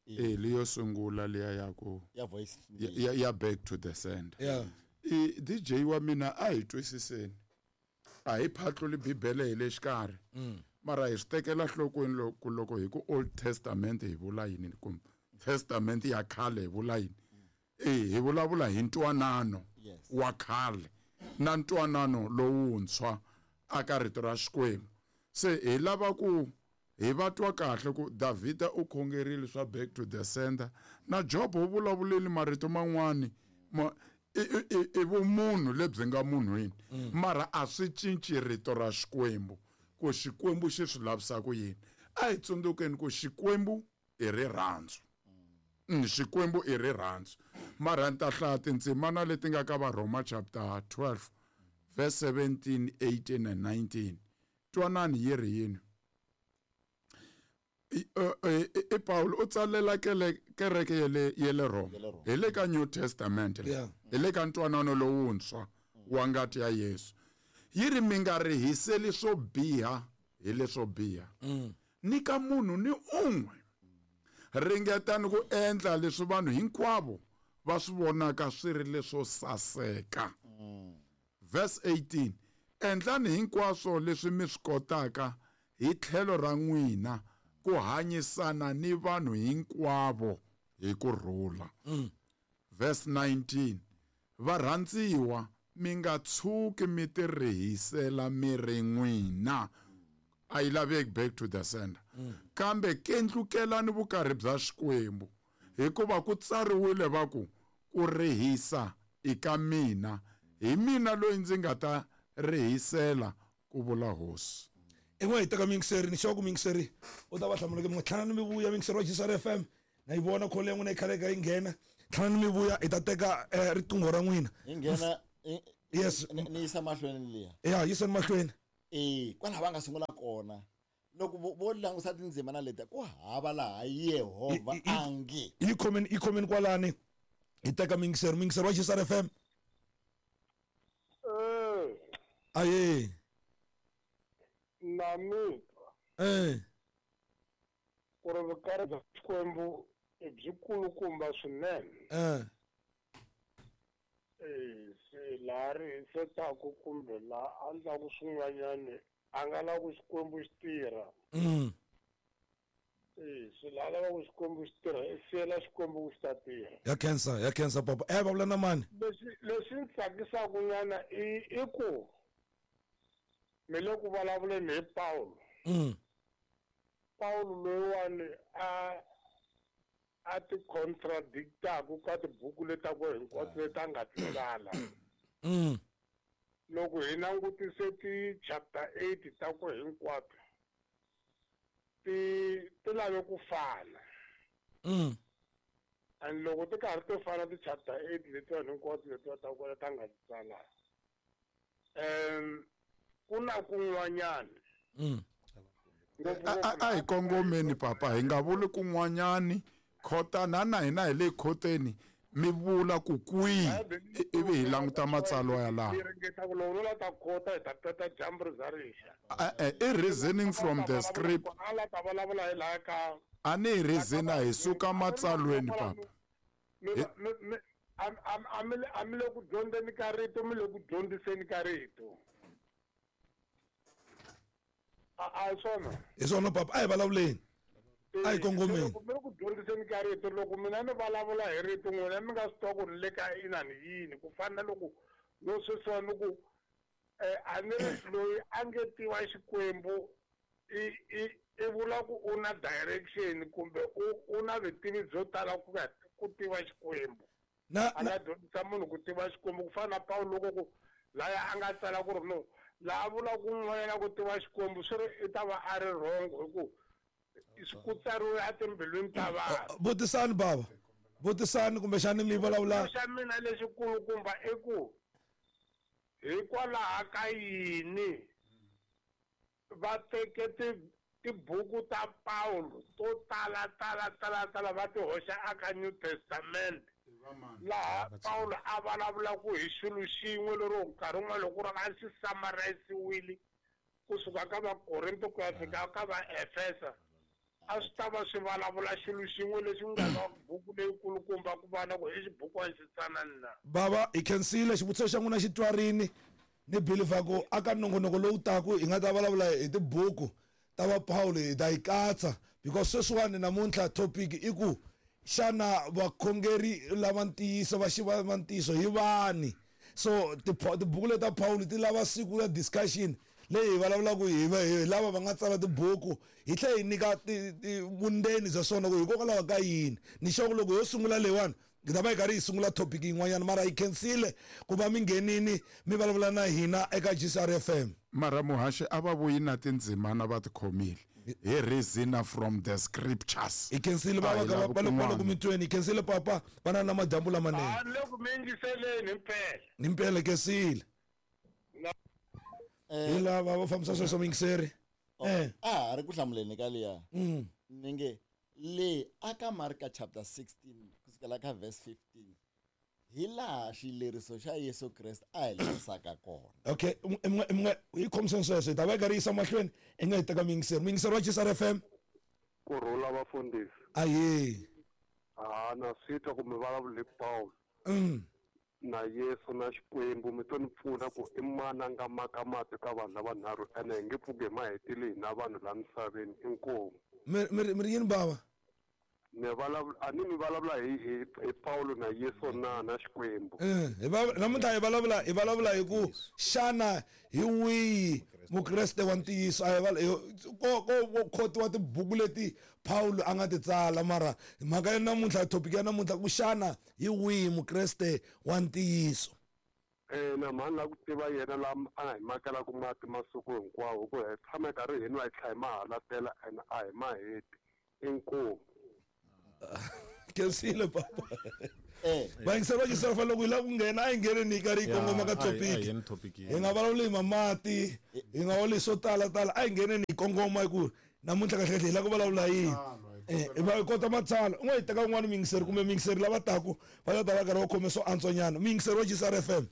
Speaker 4: eh leyo sungula liya ya ku
Speaker 3: ya voice
Speaker 4: ya ya back to the sender.
Speaker 2: Yeah
Speaker 4: i D J wa mina a hi twisiseni a hi phatluli Bibele hi le xikarhi mara hi swi tekela nhlokweni loko loko hi ku Old Testament hi vula yini kumbe Testament ya khale hi vula yini. Eh hi vulavula hi ntwanano wa khale na ntwanano lowuntshwa aka rito ra Xikwembu. Se hi lava ku hi va twa kahle ku Davhida u khongerile swa back to the sender na Job u vulavulile marito man'wani ma i vumunhu lebyi nga munhwini mara a swi cinci rito ra Xikwembu ku Xikwembu xi swi lavisa ku yini. A hi tsundzukeni ku Xikwembu i rirhandzu. Xikwembu i rirhandzu mara ni ta hlaya tindzimana leti nga ka Varhoma chapter twelve verse seventeen, eighteen and nineteen. Twanani yi ri yini. I Paulo u tsalela kereke ya le ya le Roma hi le ka New Testament hi le ka ntwanano lowuntshwa wa ngati ya Yesu. Yi ri mi nga rihiseli swo biha hi leswo biha ni ka munhu ni un'we. Ringetani ku endla leswi vanhu hinkwavo va swi vonaka swi ri leswo saseka. Verse eighteen endlani hinkwaswo leswi mi swi kotaka hi tlhelo ra n'wina ku hanyisana ni vanhu hinkwavo hi ku rhula. Verse nineteen varhandziwa mi nga tshuki mi tirihisela miri n'wina a yi laveki back to the sender kambe kendlukelani vukarhi bya Xikwembu hikuva ku tsariwile va ku ku rihisa i ka mina hi mina loyi ndzi nga ta rihisela ku vula hosi.
Speaker 2: In'we hi teka miyingiseri ni xava ku miyingiseri u ta va hlamula ke mi nga tlhana ni mi vuya miyingiseri wa G S R F M na yi vona call ya n'wina yi khale ka yi nghena Tlhela mi vuya hi ta teka riqingho ra n'wina.
Speaker 3: Hi nghena
Speaker 2: yes
Speaker 3: ni yisa mahlweni liya.
Speaker 2: Ya yiseni mahlweni.
Speaker 3: Eh kwalaho va nga sungula kona. Loko vo langusa tindzimana leti ku hava laha Yehovha angi.
Speaker 2: Yi khomeni yi khomeni kwalani. Hi teka mingiseri mingiseri wa G S R F M.
Speaker 7: Eh.
Speaker 2: Aye.
Speaker 7: Na mi.
Speaker 2: Eh.
Speaker 7: Ku ri vukarhi bya Xikwembu i byi kulukumba swinene.
Speaker 2: Eh.
Speaker 7: Eh se laha ri hisetaku kumbe laha a endlaku swin'wanyani a nga lavi ku Xikwembu xi tirha.
Speaker 2: Mm.
Speaker 7: Eh se laha lavaku Xikwembu xi tirha i siyela Xikwembu ku xi ta tirha.
Speaker 2: Ya khensa ya khensa papa. Eh va vula na mani?
Speaker 7: Leswi leswi ni tsakisaku nyana i i ku mi le ku vulavuleni hi Pawulo.
Speaker 2: Mm.
Speaker 7: Pawulo loyiwani a a ti contradictaku ka tibuku leti ku hinkwato leti a nga ti tsala.
Speaker 2: Mm.
Speaker 7: Loko hi langutise ti chapter eight ta ku hinkwato ti ti lave ku fana.
Speaker 2: Mm.
Speaker 7: And loko ti karhi ti fana ti chapter eight letiwani hinkwato letiwa ta ku leti a nga ti tsala. Um ku na kun'wanyana.
Speaker 2: Mm.
Speaker 4: A hi kongomeni papa hi nga vuli kun'wanyani khotana na hina hi le khoteni mi vula ku kwihi ivi hi languta matsalwa ya laha. I reasoning from the script. A ni hi reasona hi suka matsalweni papa.
Speaker 7: A mi le ku dyondzeni ka rito mi le ku dyondziseni ka rito. A hi swona.
Speaker 2: Hi swona papa a hi vulavuleni. A hi kongomeni.
Speaker 7: Mi le ku dyondziseni ka rito loko mina ni vulavula hi rito n'wina mi nga swi tiva ku ni le ka inani yini ku fana na loko no sweswiwa ni ku a ni ri loyi a nge tiva Xikwembu i i i vula ku u na direction kumbe u u na vutivi byo tala ku ku tiva Xikwembu.
Speaker 2: Na
Speaker 7: a nga dyondzisa munhu ku tiva Xikwembu ku fana na Pawulo loko ku laya a nga tsala ku ri no laha vula ku n'wanyana ku tiva Xikwembu swi ri i ta va a ri wrong hi ku ku tsariwe etimbilwini ta vanhu.
Speaker 2: Vutisani baba. Vutisani kumbexani mi vulavula.
Speaker 7: Xa mina lexikulukumba i ku hikwalaho ka yini va teke tibuku ta Pawulo to tala tala tala tala va ti hoxa aka New Testament laha Pawulo a vulavulaku hi xilo xin'we lero nkarhi wun'wana loko ku ri a xi summarise-wile kusuka ka Vakorinto ku ya fika ka Vaefesa a swi ta va swi vulavula xilo xin'we lexi nga na buku leyikulukumba ku va na ku i xibukwana xi tsanani na.
Speaker 2: Baba hi khensile xivutiso xa n'wina xi twarini ni believer ku aka nongonoko lowu taku hi nga ta vulavula hi tibuku ta va Pawulo hi ta yi katsa because sweswiwani namuntlha topic i ku xana vakhongeri lava ntiyiso va xiva va ntiyiso hi vani. So tibuku leta Pawulo ti lava siku ra discussion leyi hi vulavulaka hi hi lava va nga tsala tibuku hi tlhela hi nyika vundzeni bya swona ku hikokwalaho ka yini. Ni sure ku loko yo sungula leyiwani hi ta va hi karhi hi sungula topic yin'wanyana mara hi khensile ku va mi nghenini mi vulavula na hina eka G S R F M.
Speaker 4: Mara muhaxi a va vuyi na tindzimana va ti khomile hi reason from the scriptures.
Speaker 2: Hi khensile va va va loko mi tweni hi khensile papa va na na madyambu lamanene.
Speaker 7: A loko mi yingiseleni himpela.
Speaker 2: Himpela khensile. Hi lava va fambisa sweswo mingiseri. Eh
Speaker 3: a ha ri ku hlamuleni ka liya.
Speaker 2: Mm.
Speaker 3: Ni nge le aka Marka chapter sixteen kusukela ka verse fifteen hi laha xileriso xa Yesu Kreste a hi lerisaka kona.
Speaker 2: Okay, mwe hi khomiseni sweswo hi ta va hi karhi yisa mahlweni hi nga hi teka mingiseri. Mingiseri wa G S R F M.
Speaker 7: Ku rhula vafundhisi.
Speaker 2: Aye.
Speaker 7: Ah na swi twa ku mi vulavula hi Pawulo.
Speaker 2: Mm.
Speaker 7: Na Yesu na Xikwembu mi to ni pfuna ku i mani a nga maka mati ka vanhu lavanharhu ene hi nge pfuki hi ma hetile hina vanhu laha misaveni inkomu.
Speaker 2: Mi mi mi ri yini baba?
Speaker 7: Ni vulavula a ni mi vulavula hi hi hi Pawulo na Yesu na na Xikwembu.
Speaker 2: Eh hi va namuntlha hi vulavula hi vulavula hi ku xana hi wihi Mukreste wa ntiyiso a hi ko ko khotiwa tibuku leti Pawulo a nga ti tsala mara mhaka ya namuntlha topic ya namuntlha ku xana hi wihi Mukreste wa ntiyiso.
Speaker 7: Eh na mhani la ku tiva yena la a hi makelaka mati masiku hinkwawo ku hi tshama karhi hi nwa hi tlhela hi ma halatela ene a hi ma heti inkomu.
Speaker 2: Khensile papa.
Speaker 3: Eh.
Speaker 2: Vayingiseri va J C R F M, loko hi lava ku nghena, a hi ngheneni hi karhi hi kongoma ka
Speaker 1: a hi- a hi
Speaker 2: topic.
Speaker 1: yeni topic.
Speaker 2: Hi nga vulavuli hi mamati, hi nga vulavuli swo tala tala, a hi ngheneni hi kongoma hi ku namuntlha kahle kahle hi lava ku vulavula yini. Eh, hi va hi kota matsalwa. U nga hi teka un'wana muyingiseri kumbe muyingiseri lava taku va ta ta va karhi va khome swo antswanyana. Muyingiseri wa J C R F M.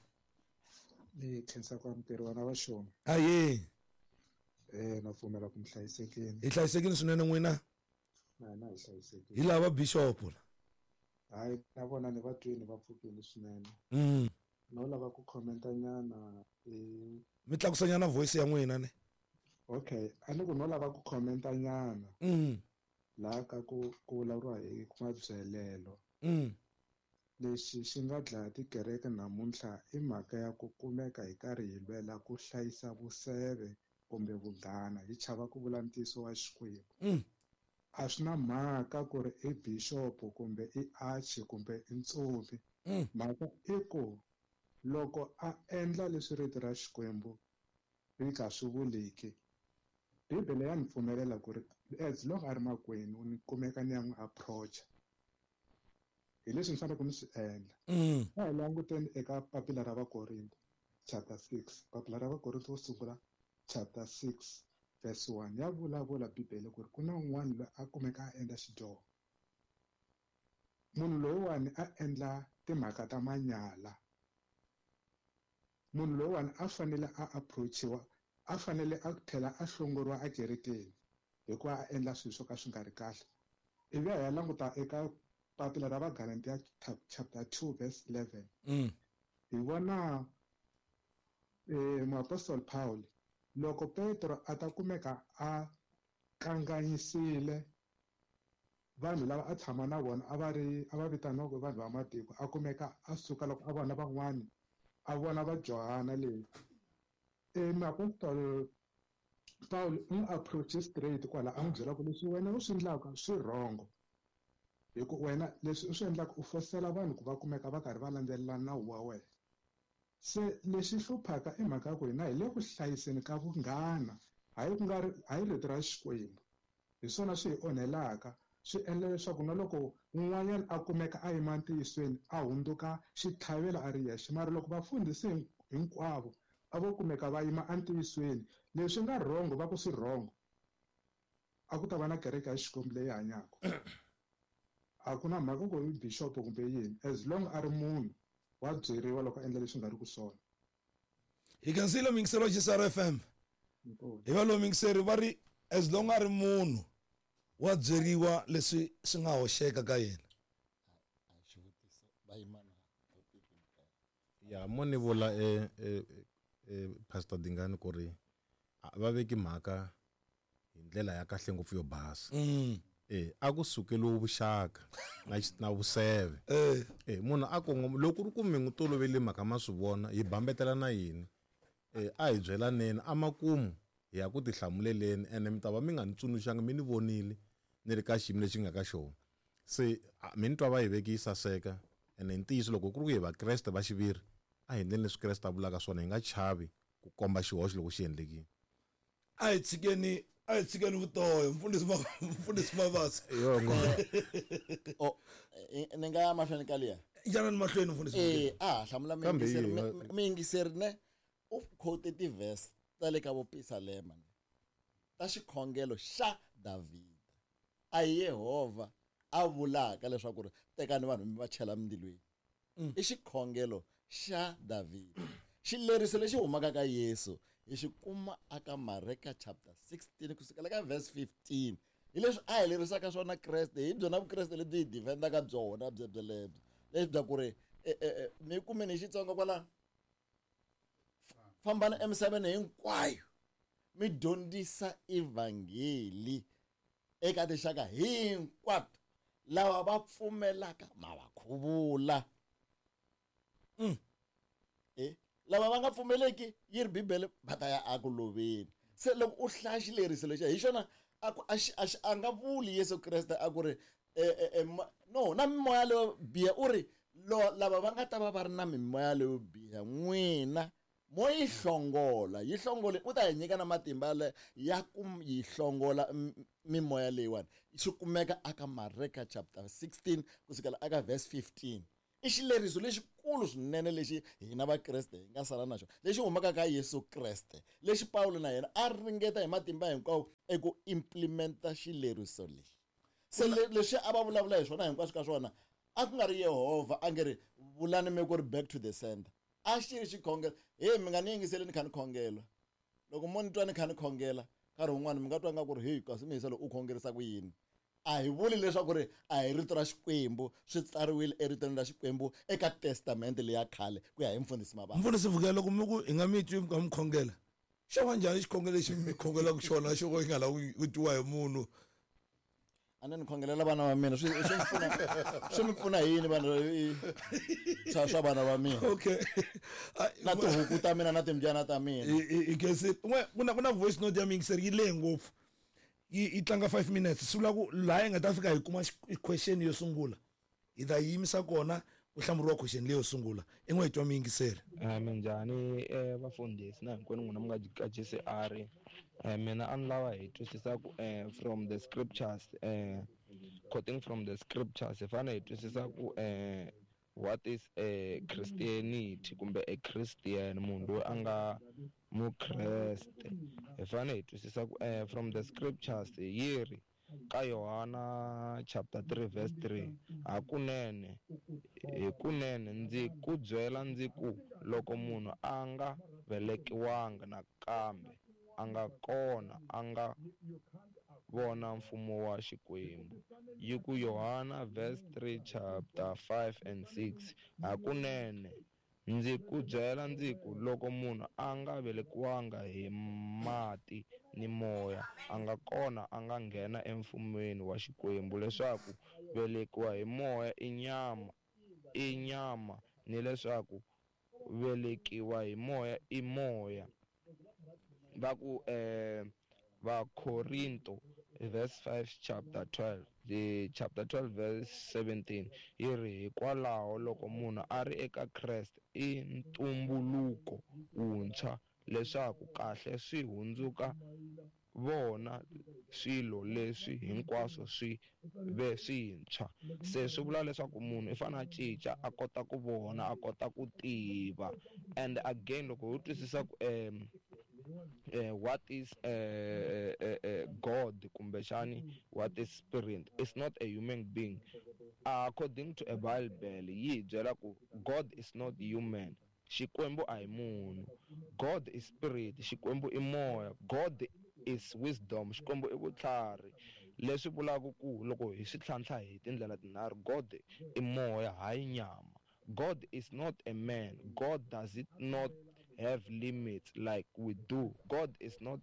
Speaker 8: Ni khensa ku amukeriwa na vaxona.
Speaker 2: Aye.
Speaker 8: Eh na pfumela ku mi hlayisekile.
Speaker 2: Hi hlayisekile swinene, n'wina?
Speaker 8: Na hina hi hlayisekile.
Speaker 2: Hi lava bishop.
Speaker 8: Hayi, na vona ni va twini, va pfukile swinene.
Speaker 2: Mm.
Speaker 8: No lava ku commenta nyana eh
Speaker 2: Mi tlakusanyana voice ya n'wina ne.
Speaker 8: Okay, a ni ku no lava ku commenta nyana
Speaker 2: Mm.
Speaker 8: laha ka ku ku vulavuriwa hi mabyelelo.
Speaker 2: Mm.
Speaker 8: Lexi xi nga dlaya tikereke namuntlha i mhaka ya ku kumeka hi karhi hi lwela ku hlayisa vuseve kumbe vunghana, hi chava ku vula ntiyiso wa Xikwembu.
Speaker 2: Mm.
Speaker 8: A swi na mhaka ku ri i bishop kumbe i arch kumbe i ntsumbi.
Speaker 2: Mm.
Speaker 8: Mhaka i ku loko a endla leswi rito ra Xikwembu ri nga swi vuliki, Bibele ya ni pfumelela ku ri as long a ri makwenu ni kumeka ni ya n'wi approach hi leswi ni faneleke ni swi endla.
Speaker 2: Mm.
Speaker 8: A hi languteni eka papila ra Vakorinto chapter six, papila ra Vakorinto wo sungula chapter six verse one, ya vulavula Bibele ku ri ku na un'wana loyi a kumeka a endla xidyoho. Munhu loyiwani a endla timhaka ta manyala, munhu loyiwani a fanele a approachiwa, a fanele a tlhela a hlongoriwa ekerekeni hikuva a endla swilo swo ka swi nga ri kahle. Ivi a ya languta eka papila ra Vagalatiya chapter two verse eleven,
Speaker 2: Mm.
Speaker 8: hi vona eh muapostoli Paul loko Petro a ta kumeka a kanganyisile vanhu lava a tshama na vona, a va ri a va vitaniwaka vanhu va matiko, a kumeka a suka loko a vona van'wani, a vona va Johana leyi, e muapostoli Paul u n'wi approach straight kwala, a n'wi byela ku leswi wena u swi endlaka swi wrong, hi ku wena leswi u swi endlaka u fosela vanhu ku va kumeka va karhi va landzelela nawu wa wena. Se lexi hluphaka i mhaka ya ku hina hi le ku hlayiseni ka vunghana, hayi ku nga ri hayi rito ra Xikwembu. Hi swona swi hi onhelaka, swi endla leswaku na loko un'wanyana a kumeka a yima ntiyisweni a hundzuka xitlhavelo a ri yexe. Mara loko vafundhisi hinkwavo a vo kumeka va yima entiyisweni, leswi nga wrong va ku swi wrong, a ku ta va na kereke ya Xikwembu leyi hanyaka. A ku na mhaka ku i bishop kumbe yini, as long a ri munhu wa byeriwa loko a endla leswi nga ri ku swona.
Speaker 2: Hi khensile muyingiseri wa J C R F M. Hi va lowu muyingiseri va ri as long a ri munhu wa byeriwa leswi swi nga hoxeka ka yena.
Speaker 3: Xivutiso va yima na topic hinkwayo.
Speaker 1: Ya, mo ni vula e e e Pastor Dingani ku ri a va veki mhaka hi ndlela ya kahle ngopfu yo basa.
Speaker 2: Mm.
Speaker 1: Eh a ku sukeliwi vuxaka na xi- na vuseve.
Speaker 2: Eh.
Speaker 1: Eh munhu a kongoma loko ku ri ku mi n'wi tolovele mhaka ma swi vona hi bambetela na yini, eh a hi byelaneni amakumu hi ya ku tihlamuleleni, ene mi ta va mi nga ni tsundzuxanga, mi ni vonile ni ri ka xiyimo lexi nga ka xona. Se a, mi ni twa va yi veki yi saseka, ene hi ntiyiso loko ku ri ku hi vakreste va xiviri, a hi endleni leswi Kreste a vulaka swona, hi nga chavi ku komba xihoxo loko xi endlekile.
Speaker 2: A hi tshikeni, a hi tshikeni vutoyo, mfundhisi ma mfundhisi Mabasa.
Speaker 1: Yo, ngo.
Speaker 3: Oh, eh, ni nga ya mahlweni ka liya.
Speaker 2: Yanani mahlweni, mfundhisi.
Speaker 3: Eh, a ha hlamula
Speaker 1: Kambe
Speaker 3: muyingiseri.
Speaker 1: yi-
Speaker 3: Mi- mi- muyingiseri ne u quote ti-verse ta le ka vopisalema ne ta xikhongelo xa Davhida. A hi Yehovha a vulaka leswaku ri tekani vanhu mi va chela mindzilweni. I xikhongelo xa Davhida. Xileriso lexi humaka ka Yesu hi xi kuma aka Mareka chapter sixteen kusukela ka verse fifteen. Hi leswi a hi lerisaka swona Kreste, hi byona Vukreste lebyi hi defendaka byona byebyelebyo. Leswi bya ku ri eh, eh, eh, mi kumeni hi Xitsonga kwala. Fambani emisaveni hinkwayo mi dyondzisa evhangeli eka tinxaka hinkwato, lava va pfumelaka ma va khuvula.
Speaker 2: Mm.
Speaker 3: Eh, lava va nga pfumeleki yi ri Bibele va ta ya aku loveni. Se loko u hlaya xileriso lexi hi xona a ku a xi a xi a nga vuli Yesu Kreste a ku ri eh, eh, eh, ma- no na mimoya leyo biha, u ri lo lava va nga ta va va ri na mimoya leyo biha n'wina Mo yi hlongola, yi hlongole u ta hi nyika na matimba le ya ku yi hlongola mimoya leyiwani. Swi kumeka aka Mareka chapter sixteen kusukela aka verse fifteen. I xileriso lexikulu swinene lexi hina vakreste hi nga sala na xona, lexi humaka ka Yesu Kreste, lexi Pawulo na yena a ringeta hi matimba hinkwawo eku implementa xileriso lexi. Se leswi a va vulavula hi swona hinkwaswo ka swona a ku nga ri Yehovha a nge ri vulani mi ku ri back to the center. A xi ri xikhongelo, he mi nga ni yingiseli ni kha ni khongela. Loko mo ni twa ni kha ni khongela nkarhi wun'wani mi nga twa nga ku ri hey kasi mi yisa loko u khongerisa ku yini. A hi vuli leswaku ri a hi rito ra Xikwembu, swi tsariwile eritweni ra Xikwembu eka testamente leya khale ku ya hi mfundhisi Mabasa.
Speaker 2: Mfundhisi Vukela, loko mi ku hi nga mi twi mi kha mi khongela, xo va njhani xikhongelo lexi mi khongelaka xona xo ka xi nga lavi ku twiwa hi munhu?
Speaker 3: A ni ni khongelela vana va mina, swi swi mi pfuna, swi mi pfuna hi yini vanhu swa swa vana va mina?
Speaker 2: Okay.
Speaker 3: Na tihuku ta mina na timbyana ta mina.
Speaker 2: I khensi n'we ku na ku na voice note ya miyingiseri yi lehe ngopfu. Yi yi tlanga five minutes, swi vula ku laha hi nga ta fika hi kuma question yo sungula hi ta yimisa kona ku hlamuriwa question leyo sungula. I n'we hi twa miyingiseri.
Speaker 9: Minjhani vafundhisi na hinkwenu n'wina mi nga ka G C R. Mina a ni lava hi twisisa ku from the scriptures, quoting from the scriptures, hi fanele hi twisisa ku what is a Christianity kumbe a Christian, munhu loyi a nga mukreste. Hi fanele hi twisisa ku from the scriptures yi ri ka Yohana chapter three verse three, hakunene hikunene ndzi ku byela ndzi ku loko munhu a nga velekiwanga nakambe a nga kona a nga vona mfumo wa Xikwembu. Yi ku Yohana verse three chapter five and six, hakunene ndzi ku byela ndzi ku loko munhu a nga velekiwanga hi mati ni moya a nga kona a nga nghena emfumweni wa Xikwembu. Leswaku velekiwa hi moya i nyama i nyama ni leswaku velekiwa hi moya i moya. Va ku eh Vakorinto verse five chapter twelve, the chapter twelve verse seventeen yi ri hikwalaho loko munhu a ri eka Kreste i ntumbuluko wuntshwa, leswaku kahle swi hundzuka vona swilo leswi hinkwaswo swi ve swintshwa. Se swi vula leswaku munhu i fanele a cinca a kota ku vona, a kota ku tiva. And again loko ho twisisa ku um Uh, what is uh, uh, uh, God kumbexani what is spirit, it's not a human being. Uh, according to a Bible yi byela ku God is not human, Xikwembu a hi munhu. God is spirit, Xikwembu i moya. God is wisdom, Xikwembu i vutlhari. Leswi vulaka ku loko hi swi tlhantlha hi tindlela tinharhu, God i moya hayi nyama. God is not a man. God does it not have limits like we do. God is not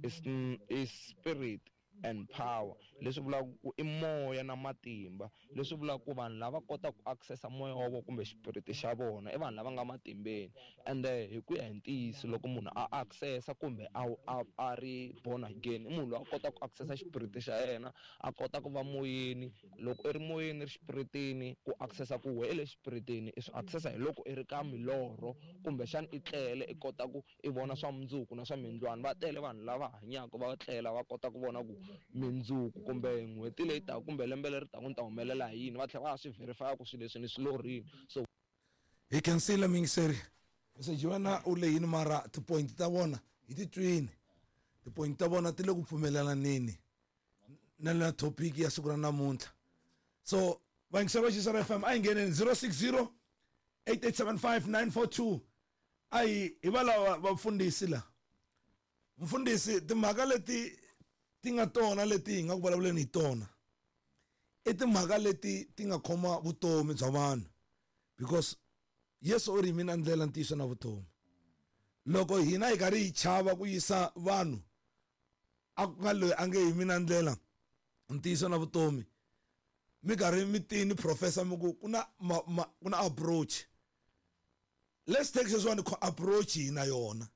Speaker 9: is, is spirit and power. Leswi vulaka ku i moya na matimba. Leswi vulaka ku vanhu lava kotaka ku accessa moya wa vona kumbe xipiriti xa vona i vanhu lava nga matimbeni. And hi ku ya hi ntiyiso loko munhu a accessa kumbe a a a ri born again, i munhu loyi a kotaka ku accessa xipiriti xa yena, a kota ku va moyeni. Loko i ri moyeni ri xipiritini, ku accessa ku we i le xipiritini i swi accessa hi loko i ri ka milorho kumbexana i tlele i kota ku i vona swa mundzuku na swa mindlwani. Va tele vanhu lava hanyaka va tlela va kota ku vona ku mindzuku kumbe n'hweti leyi taka kumbe lembe leri taka ni ta humelela hi yini, va tlhela va swi verify ku swilo leswi ni swi lorhini. So
Speaker 2: hi khensile miyingiseri. Meseji wena u lehini mara tipoint ta vona hi ti twini, tipoint ta vona ti le ku pfumelelaneni na na topic ya siku ra namuntlha. So vayingiseri va Xisara F M a hi ngheneni zero six zero eight eight seven five nine four two. A hi hi va lava vafundhisi la mfundhisi timhaka leti ti nga tona leti hi nga ku vulavuleni hi tona i timhaka leti ti nga khoma vutomi bya vanhu, because Yesu u ri mina ndlela, ntiyiso na vutomi. Loko hina hi karhi hi chava ku yisa vanhu a ku nga loyi a nge hi mina ndlela, ntiyiso na vutomi, mi karhi mi tini professor mi ku ku na ku na approach. Let's take sweswiwani approach hina yona.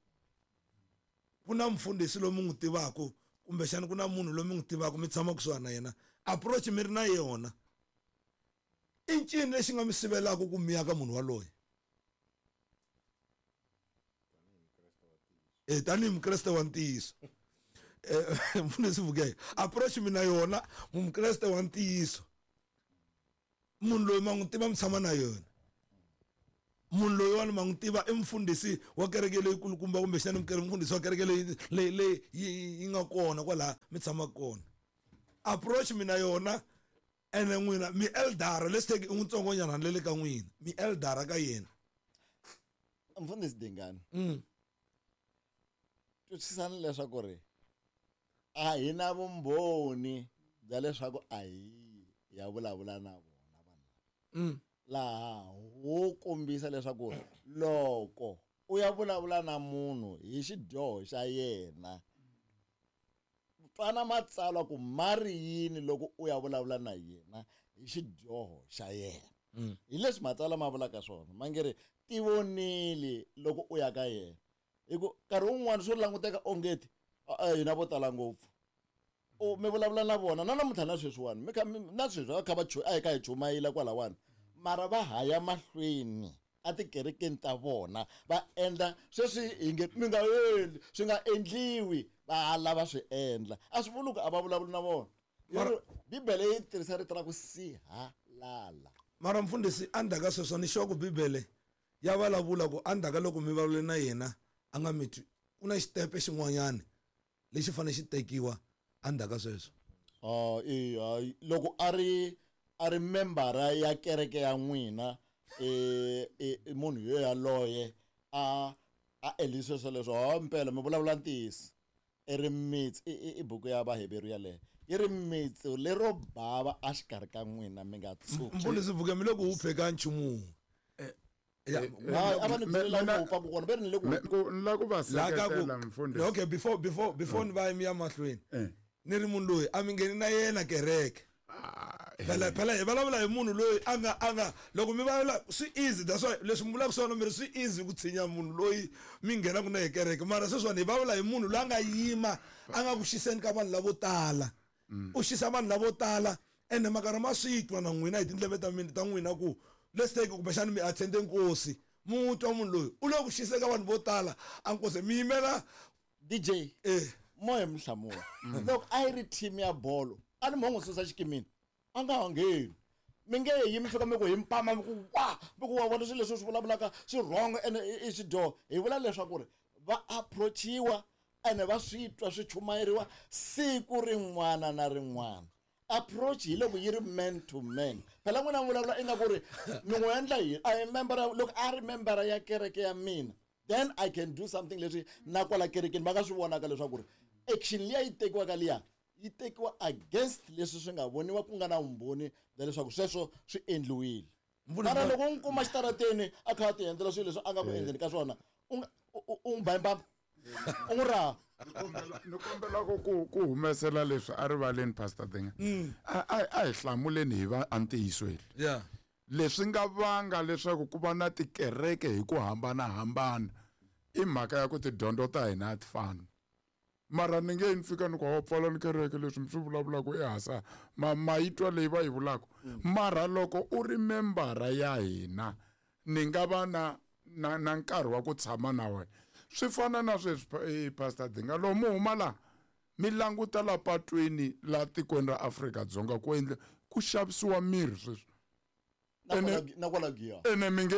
Speaker 2: Ku na mfundhisi loyi mi n'wi tivaka kumbexana ku na munhu loyi mi n'wi tivaka mi tshama kusuhani na yena, approach mi ri na yona, i ncini lexi nga mi sivelaka ku mi ya ka munhu waloye? Eh tanihi mukreste wa ntiyiso. Eh mfundhisi Vukeka approach mina yona mukreste wa ntiyiso. Munhu loyi ma n'wi tiva mi tshama na yona. Munhu loyi wa ma n'wi tiva i mfundhisi wa kereke leyi kulukumba kumbexana mfundhisi wa kereke leyi leyi leyi yi nga kona kwalaha mi tshamaka kona. Approach mina yona ene n'wina mi eldara, let's take i n'witsongonyana le le ka n'wina mi eldara ka yena.
Speaker 3: Mfundhisi Dingani,
Speaker 2: mm.
Speaker 3: twisisani leswaku ri a hi na vumbhoni bya leswaku a hi ya vulavula na vona vanhu
Speaker 2: mm.
Speaker 3: laha wo kombisa leswaku loko u ya vulavula na munhu hi xidyoho xa yena twana matsalwa ku mari yini loko u ya vulavula na yena hi xidyoho xa yena. Hi leswi matsalwa ma vulaka swona ma nge ri tivonile loko u ya ka yena hi ku nkarhi wun'wani swo languteka ongeti hina vo tala ngopfu u mi vulavula na vona na namuntlha na sweswiwani mi kha na sweswi va kha va a hi kha hi chumayela kwalawani mara va haya mahlweni a tikerekeni ta vona va endla sweswi hi nge mi nga endli swi nga endliwi va ha lava swi endla a swi vuli ku a va vulavuli na vona. Bibele yi tirhisa rito ra ku sihalala.
Speaker 2: Mara mfundhisi endzhaku ka sweswo ni sure ku Bibele ya vulavula ku endzhaku ka loko mi vulavule na yena a nga mi twi ku na xitepe xin'wanyana lexi fanele xi tekiwa endzhaku ka sweswo.
Speaker 3: Ah eh loko a ri a ri membara ya kereke ya n'wina eh munhu yo yaloye a a endlise sweswo leswo ha mpela mi vulavula ntiyiso i ri mitsi i buku ya Vaheveru yaleyo yi ri mitsi lero bava a xikarhi ka n'wina mi nga tshuki.
Speaker 2: Mfundhisi Vuke mi le ku hupheka nchumu.
Speaker 3: A va ni byela ku hupa ku kona ve ri ni le ku
Speaker 4: ni la ku va seketela mfundhisi.
Speaker 2: Okay, before before before ni va mi ya mahlweni ni ri munhu loyi a mi ngheni na yena kereke. Phela phela hi vulavula hi munhu loyi a nga a nga loko mi vulavula swi easy, that's why leswi mi vulaka swona mi ri swi easy ku tshinya munhu loyi mi nghenaka na hi kereke mara sweswiwani hi vulavula hi munhu loyi a nga yima a nga ku xiseni ka vanhu lavo tala. U xisa vanhu lavo tala ene makarhi ma swi twa na n'wina hi tindleve ta mina ta n'wina ku let's take kumbexana mi attende nkosi mu twa munhu loyi u le ku xiseka vanhu vo tala a nkosi mi yimela
Speaker 3: D J
Speaker 2: eh
Speaker 3: moya mhlamula loko a yi ri team ya bolo a ni mo n'wi susa xikimini a nga ha ngheni mi nge yi mi fika mi ku hi mpama mi ku wa mi ku wa vona swilo leswi swi vulavulaka swi wrong ene i xidyoho. Hi vula leswaku ri va approachiwa ene va swi twa swi chumayeriwa siku rin'wana na rin'wana. Approach hi loko yi ri man to man. Phela n'wina mi vulavula ingaku ri mi n'wi endla yini a hi membara loko a ri membara ya kereke ya mina then I can do something leswi na kwala kerekeni va nga swi vonaka leswaku ri action liya yi tekiwaka liya yi tekiwa against leswi swi nga voniwa ku nga na vumbhoni bya leswaku sweswo swi endliwile. Mara loko u n'wi kuma xitarateni a kha a ti endlela swilo leswi a nga ku endleni ka swona u nga u n'wi ba hi mbamba u n'wi raha.
Speaker 4: Ni kombela ku ku humesela leswi a rivaleni Pastor Dinga. A a hi hlamuleni hi va antiyisweni.
Speaker 2: Yeah.
Speaker 4: Leswi nga vanga leswaku ku va na tikereke hi ku hambanahambana i mhaka ya ku tidyondzo ta hina a ti fani. Mara ni nge ni fika ni ku wa pfala ni kereke leswi mi swi vulavulaka ehasa ma ma yi twa leyi va yi vulaka. Mara loko u ri membara ya hina ni nga va na na na nkarhi wa ku tshama na wena. Swi fana na sweswi Pastor Dinga lomu huma la mi languta la patwini la tikweni ra Afrika-Dzonga ku endla ku xavisiwa mirhi sweswi.
Speaker 3: Na kwala Giya.
Speaker 4: Ene mi nge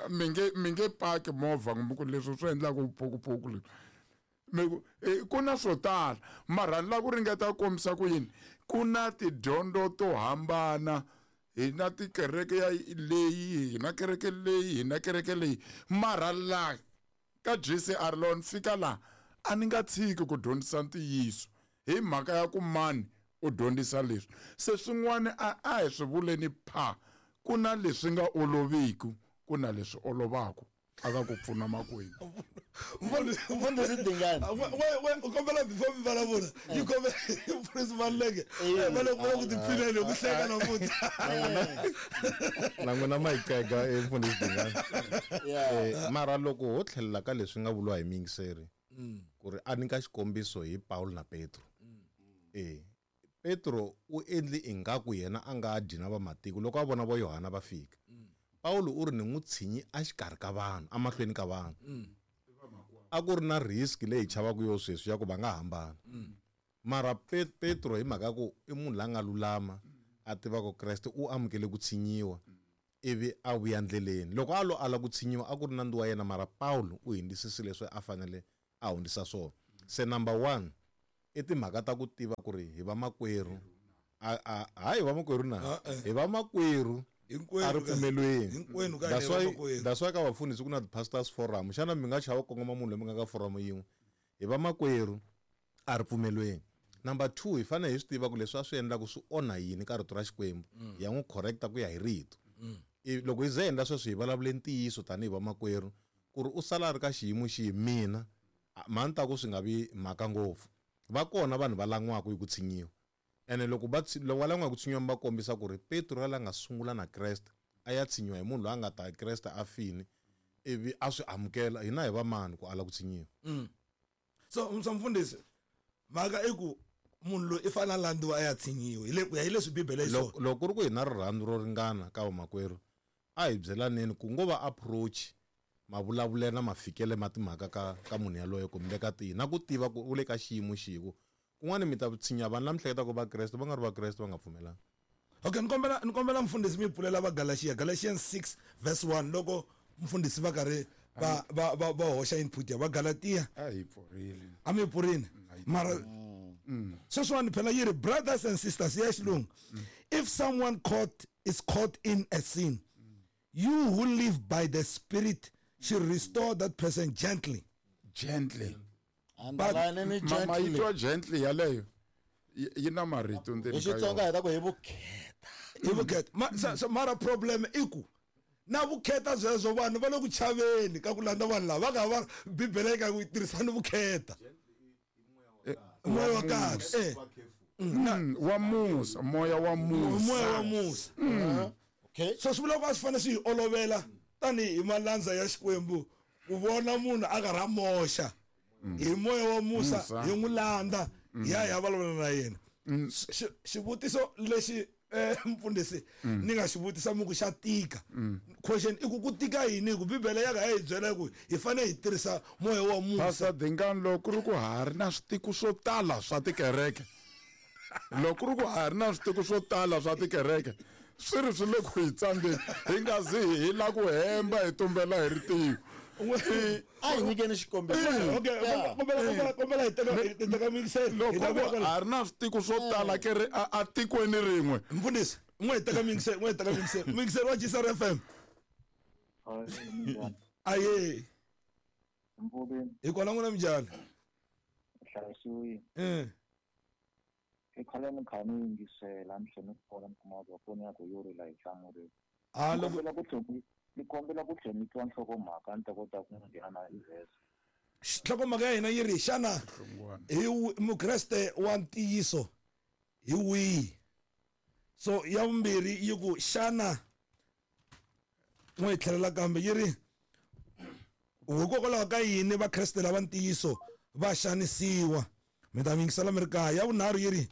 Speaker 4: mi nge mi nge paki movha kumbe ku leswi swi endlaka vuphukuphuku leswi. Mi ku ku na swo tala mara ni lava ku ringeta ku kombisa ku yini ku na tidyondzo to hambana hi na tikereke ya leyi hi na kereke leyi hi na kereke leyi mara la ka G C R lon fika la a ni nga tshiki ku dyondzisa ntiyiso hi mhaka ya ku mani u dyondzisa leswi se swin'wana a a hi swi vuleni pha ku na leswi nga oloviki ku na leswi olovaka aka ku pfuna makwenu.
Speaker 3: Mfundhisi Dingani
Speaker 2: u kombela before mi vulavula yi kombela Mfundhisi Maluleke va le ku tipfineni ku hleka namuntlha
Speaker 1: na n'wina ma yi qega Mfundhisi Dingani. Mara loko ho tlhelela ka leswi nga vuriwa hi muyingiseri ku ri a nyika xikombiso hi Paul na Petro. Eh Petro u endli ingaku yena a nga dyi na vamatiko loko a vona vo Yohana va fika. Paulo u ri ni n'wi tshinyi a xikarhi ka vanhu amahlweni ka vanhu. A ku ri na risk leyi chavaka yo sweswi ya ku va nga hambana. Mara Petro hi mhaka ku i munhu la nga lulama a tivaka Kreste u amukele ku tshinyiwa ivi a vuya ndleleni. Loko a lo ala ku tshinyiwa a ku ri nandzu wa yena, mara Paulo u hundzisile leswi a fanele a hundzisa swona. Se number one i timhaka ta ku tiva ku ri hi vamakwerhu, a a hayi vamakwerhu na hi vamakwerhu a ri pfumelweni. That's why that's why ka vafundhisi ku na ti-pastors forum. Xana mi nga chava ku kongoma munhu loyi mi nga ka forum yin'we? Hi vamakwerhu a ri pfumelweni. Number two, hi fanele hi swi tiva ku leswi a swi endlaka swi onha yini ka rito ra Xikwembu, ya n'wi correcta ku ya hi rito. Loko hi ze endla sweswo hi vulavule ntiyiso tanihi vamakwerhu ku ri u sala a ri ka xiyimo xihi, mina mhani ta ku swi nga vi mhaka ngopfu. Va kona vanhu va lan'waka hi ku tshinyiwa, ene loko va loko va lan'wa hi ku tshinyiwa va kombisa ku ri Petro la nga sungula na Kreste a ya tshinyiwa hi munhu loyi a nga ta Kreste a fini ivi a swi amukela, hina hi va mani ku ala ku tshinyiwa.
Speaker 2: So mfundhisi, mhaka i ku munhu loyi i fanele a landziwa a ya tshinyiwa hi le ku ya hi leswi Bibele yi
Speaker 1: swona. Loko ku ri ku hi na rirhandzu ro ringana ka vamakwerhu, a hi byelaneni ku ngo va approach mavulavulelo na mafikele ma timhaka ka ka munhu yaloye kumbe ka tihi, na ku tiva ku u le ka xiyimo xihi, ku kun'wana mi ta tshinya vanhu lava mi hleketaka va Kreste va nga ri va Kreste va nga pfumelanga.
Speaker 2: Okay, ni kombela ni kombela mfundhisi mi pfulela va Galatia, Galatians six verse one, loko mfundhisi va karhi va va va va hoxa input ya va Galatia.
Speaker 4: A hi pfurile.
Speaker 2: A mi pfurile. Mara sweswiwani phela yi ri brothers and sisters ya xilungu, if someone caught is caught in a sin, you who live by the Spirit should restore that person gently.
Speaker 4: Gently.
Speaker 3: But
Speaker 4: gently. Ma gently yaleyo yi na marito ndzeni
Speaker 3: ka yona. Xitsonga hi ta ku hi vukheta.
Speaker 2: Hi vukheta. Ma so mara problem i ku na vukheta sweswo vanhu va le ku chaveni ka ku landza vanhu lava va nga va Bibele yi ka ku tirhisani vukheta. Moya wa kahle. Eh.
Speaker 4: Wa musa, moya wa musa.
Speaker 2: Moya wa musa. Okay. So swi vula ku a swi fanele swi hi olovela tanihi malandza ya Xikwembu ku vona munhu a karhi a moxa hi moya wa musa hi n'wi landza hi ya hi ya vulavula na yena. Xivutiso lexi mfundhisi ni nga xi vutisa mi ku xa tika. Question i ku ku tika yini, hi ku Bibele ya ka ya hi byela ku hi fanele hi tirhisa moya wa musa.
Speaker 4: Pastor Dingani, loko ku ri ku ha ri na switiko swo tala swa tikereke, loko ku ri ku ha ri na switiko swo tala swa tikereke, swi ri swi le ku hi tsandzeni, hi nga zi hi la ku hemba hi tumbela hi ritiho.
Speaker 3: A hi nyikeni xikombiso.
Speaker 2: Okay, kombela kombela hi teka hi teka mixer.
Speaker 4: Loko ha ri na switiko swo tala ke ri a tikweni rin'we.
Speaker 2: Mfundhisi, n'we hi teka mixer, n'we hi teka mixer. Mixer wa G S R F M. Aye. Hi kona n'wina minjhani?
Speaker 10: Hlayisiwile.
Speaker 2: Eh.
Speaker 10: I khale ni kha ni yingisela ni tlhela ni vona ni kuma ku foni ya ku yo rila hi hlamureni.
Speaker 2: Ah,
Speaker 10: loko ku ni kombela ku tlhela ni twa nhlokomhaka ni ta kota ku nghena na verse.
Speaker 2: Nhlokomhaka ya hina yi ri xana hi Mukreste wa ntiyiso hi wihi? So ya vumbirhi yi ku xana n'we hi tlhelela kambe yi ri hikokwalaho ka yini Vakreste lava ntiyiso va xanisiwa? Mi ta yingisela mi ri kaya. Ya vunharhu yi ri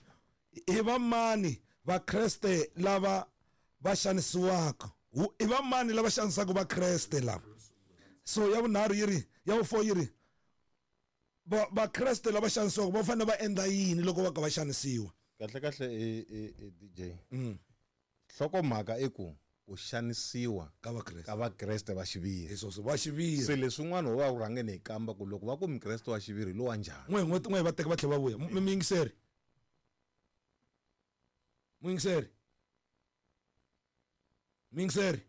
Speaker 2: i vamani Vakreste lava va xanisiwaka? I vamani lava xanisaka Vakreste lava? So ya vunharhu yi ri, ya vu-four yi ri Vakreste lava xanisiwaka va fanele va endla yini loko va ka va xanisiwa?
Speaker 1: Kahle kahle e D J. Nhlokomhaka i ku ku xanisiwa
Speaker 2: ka Vakreste
Speaker 1: ka Vakreste va xiviri.
Speaker 2: Hi sweswo va xiviri.
Speaker 1: Se leswin'wana ho va ku rhangeni hi kamba ku loko va ku Mukreste wa xiviri lowa njhani.
Speaker 2: N'we n'we n'we va teka va tlhela va vuya. Mi yingiseri. Muyingiseri. Muyingiseri.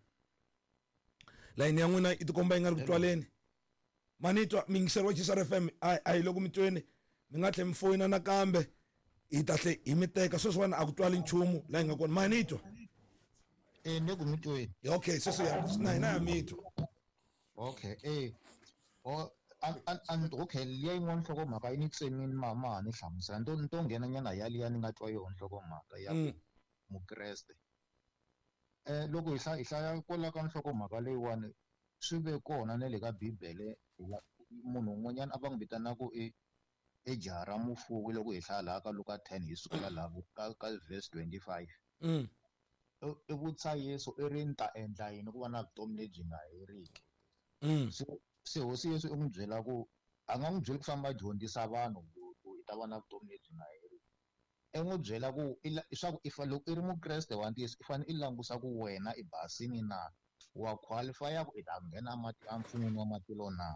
Speaker 2: Layini ya n'wina yi tikomba yi nga ri ku twaleni. Manitwa muyingiseri wa G S R F M a a hi loko mi tweni, mi nga tlhela mi foyina nakambe hi ta tlhe hi mi teka. Sweswiwani a ku twali nchumu laha hi nga kona. Manitwa.
Speaker 10: Eh, ni ku mi tweni.
Speaker 2: Okay, sweswi ya na hina ya mi twa.
Speaker 10: Okay, eh. O an an okay, liya yin'wana nhlokomhaka yi ni tsemini ma ma ni hlamusela. Ni to ni to nghena nyana ya liya ni nga twa yona nhlokomhaka ya ku Mukreste. Eh, loko hi hlaya hi hlaya kwala ka nhlokomhaka leyiwani swi ve kona na le ka Bibele munhu un'wanyana a va n'wi vitana ku i i jaha ra mufuwi loko hi hlaya laha ka Luka ten hi sukela laha ka ka verse twenty-five.
Speaker 2: Mm.
Speaker 10: I vutisa Yesu i ri ni ta endla yini ku va na vutomi lebyi nga heriki.
Speaker 2: Mm.
Speaker 10: Se se hosi Yesu i n'wi byela ku A nga n'wi byeli ku famba a dyondzisa vanhu ku ku i ta va na vutomi lebyi nga heriki. I n'wi byela ku i la- swa ku i fa loko i ri mukreste wa ntiyiso i fanele i langusa ku wena i basini na wa qualify-a ku i ta nghena amati- emfun'weni wa matilo na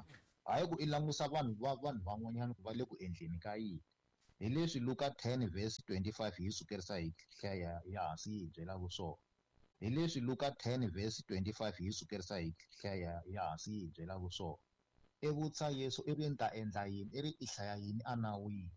Speaker 10: hayi ku i langusa vanhu va vanhu van'wanyana ku va le ku endleni ka yini hi leswi Luka ten verse twenty-five yi sukerisa hi hlaya ya hansi yi hi byelaka swona hi leswi Luka ten verse twenty-five yi sukerisa hi hlaya ya hansi yi hi byelaka swona i vutisa Yesu i ri ni ta endla yini i ri i hlaya yini enawini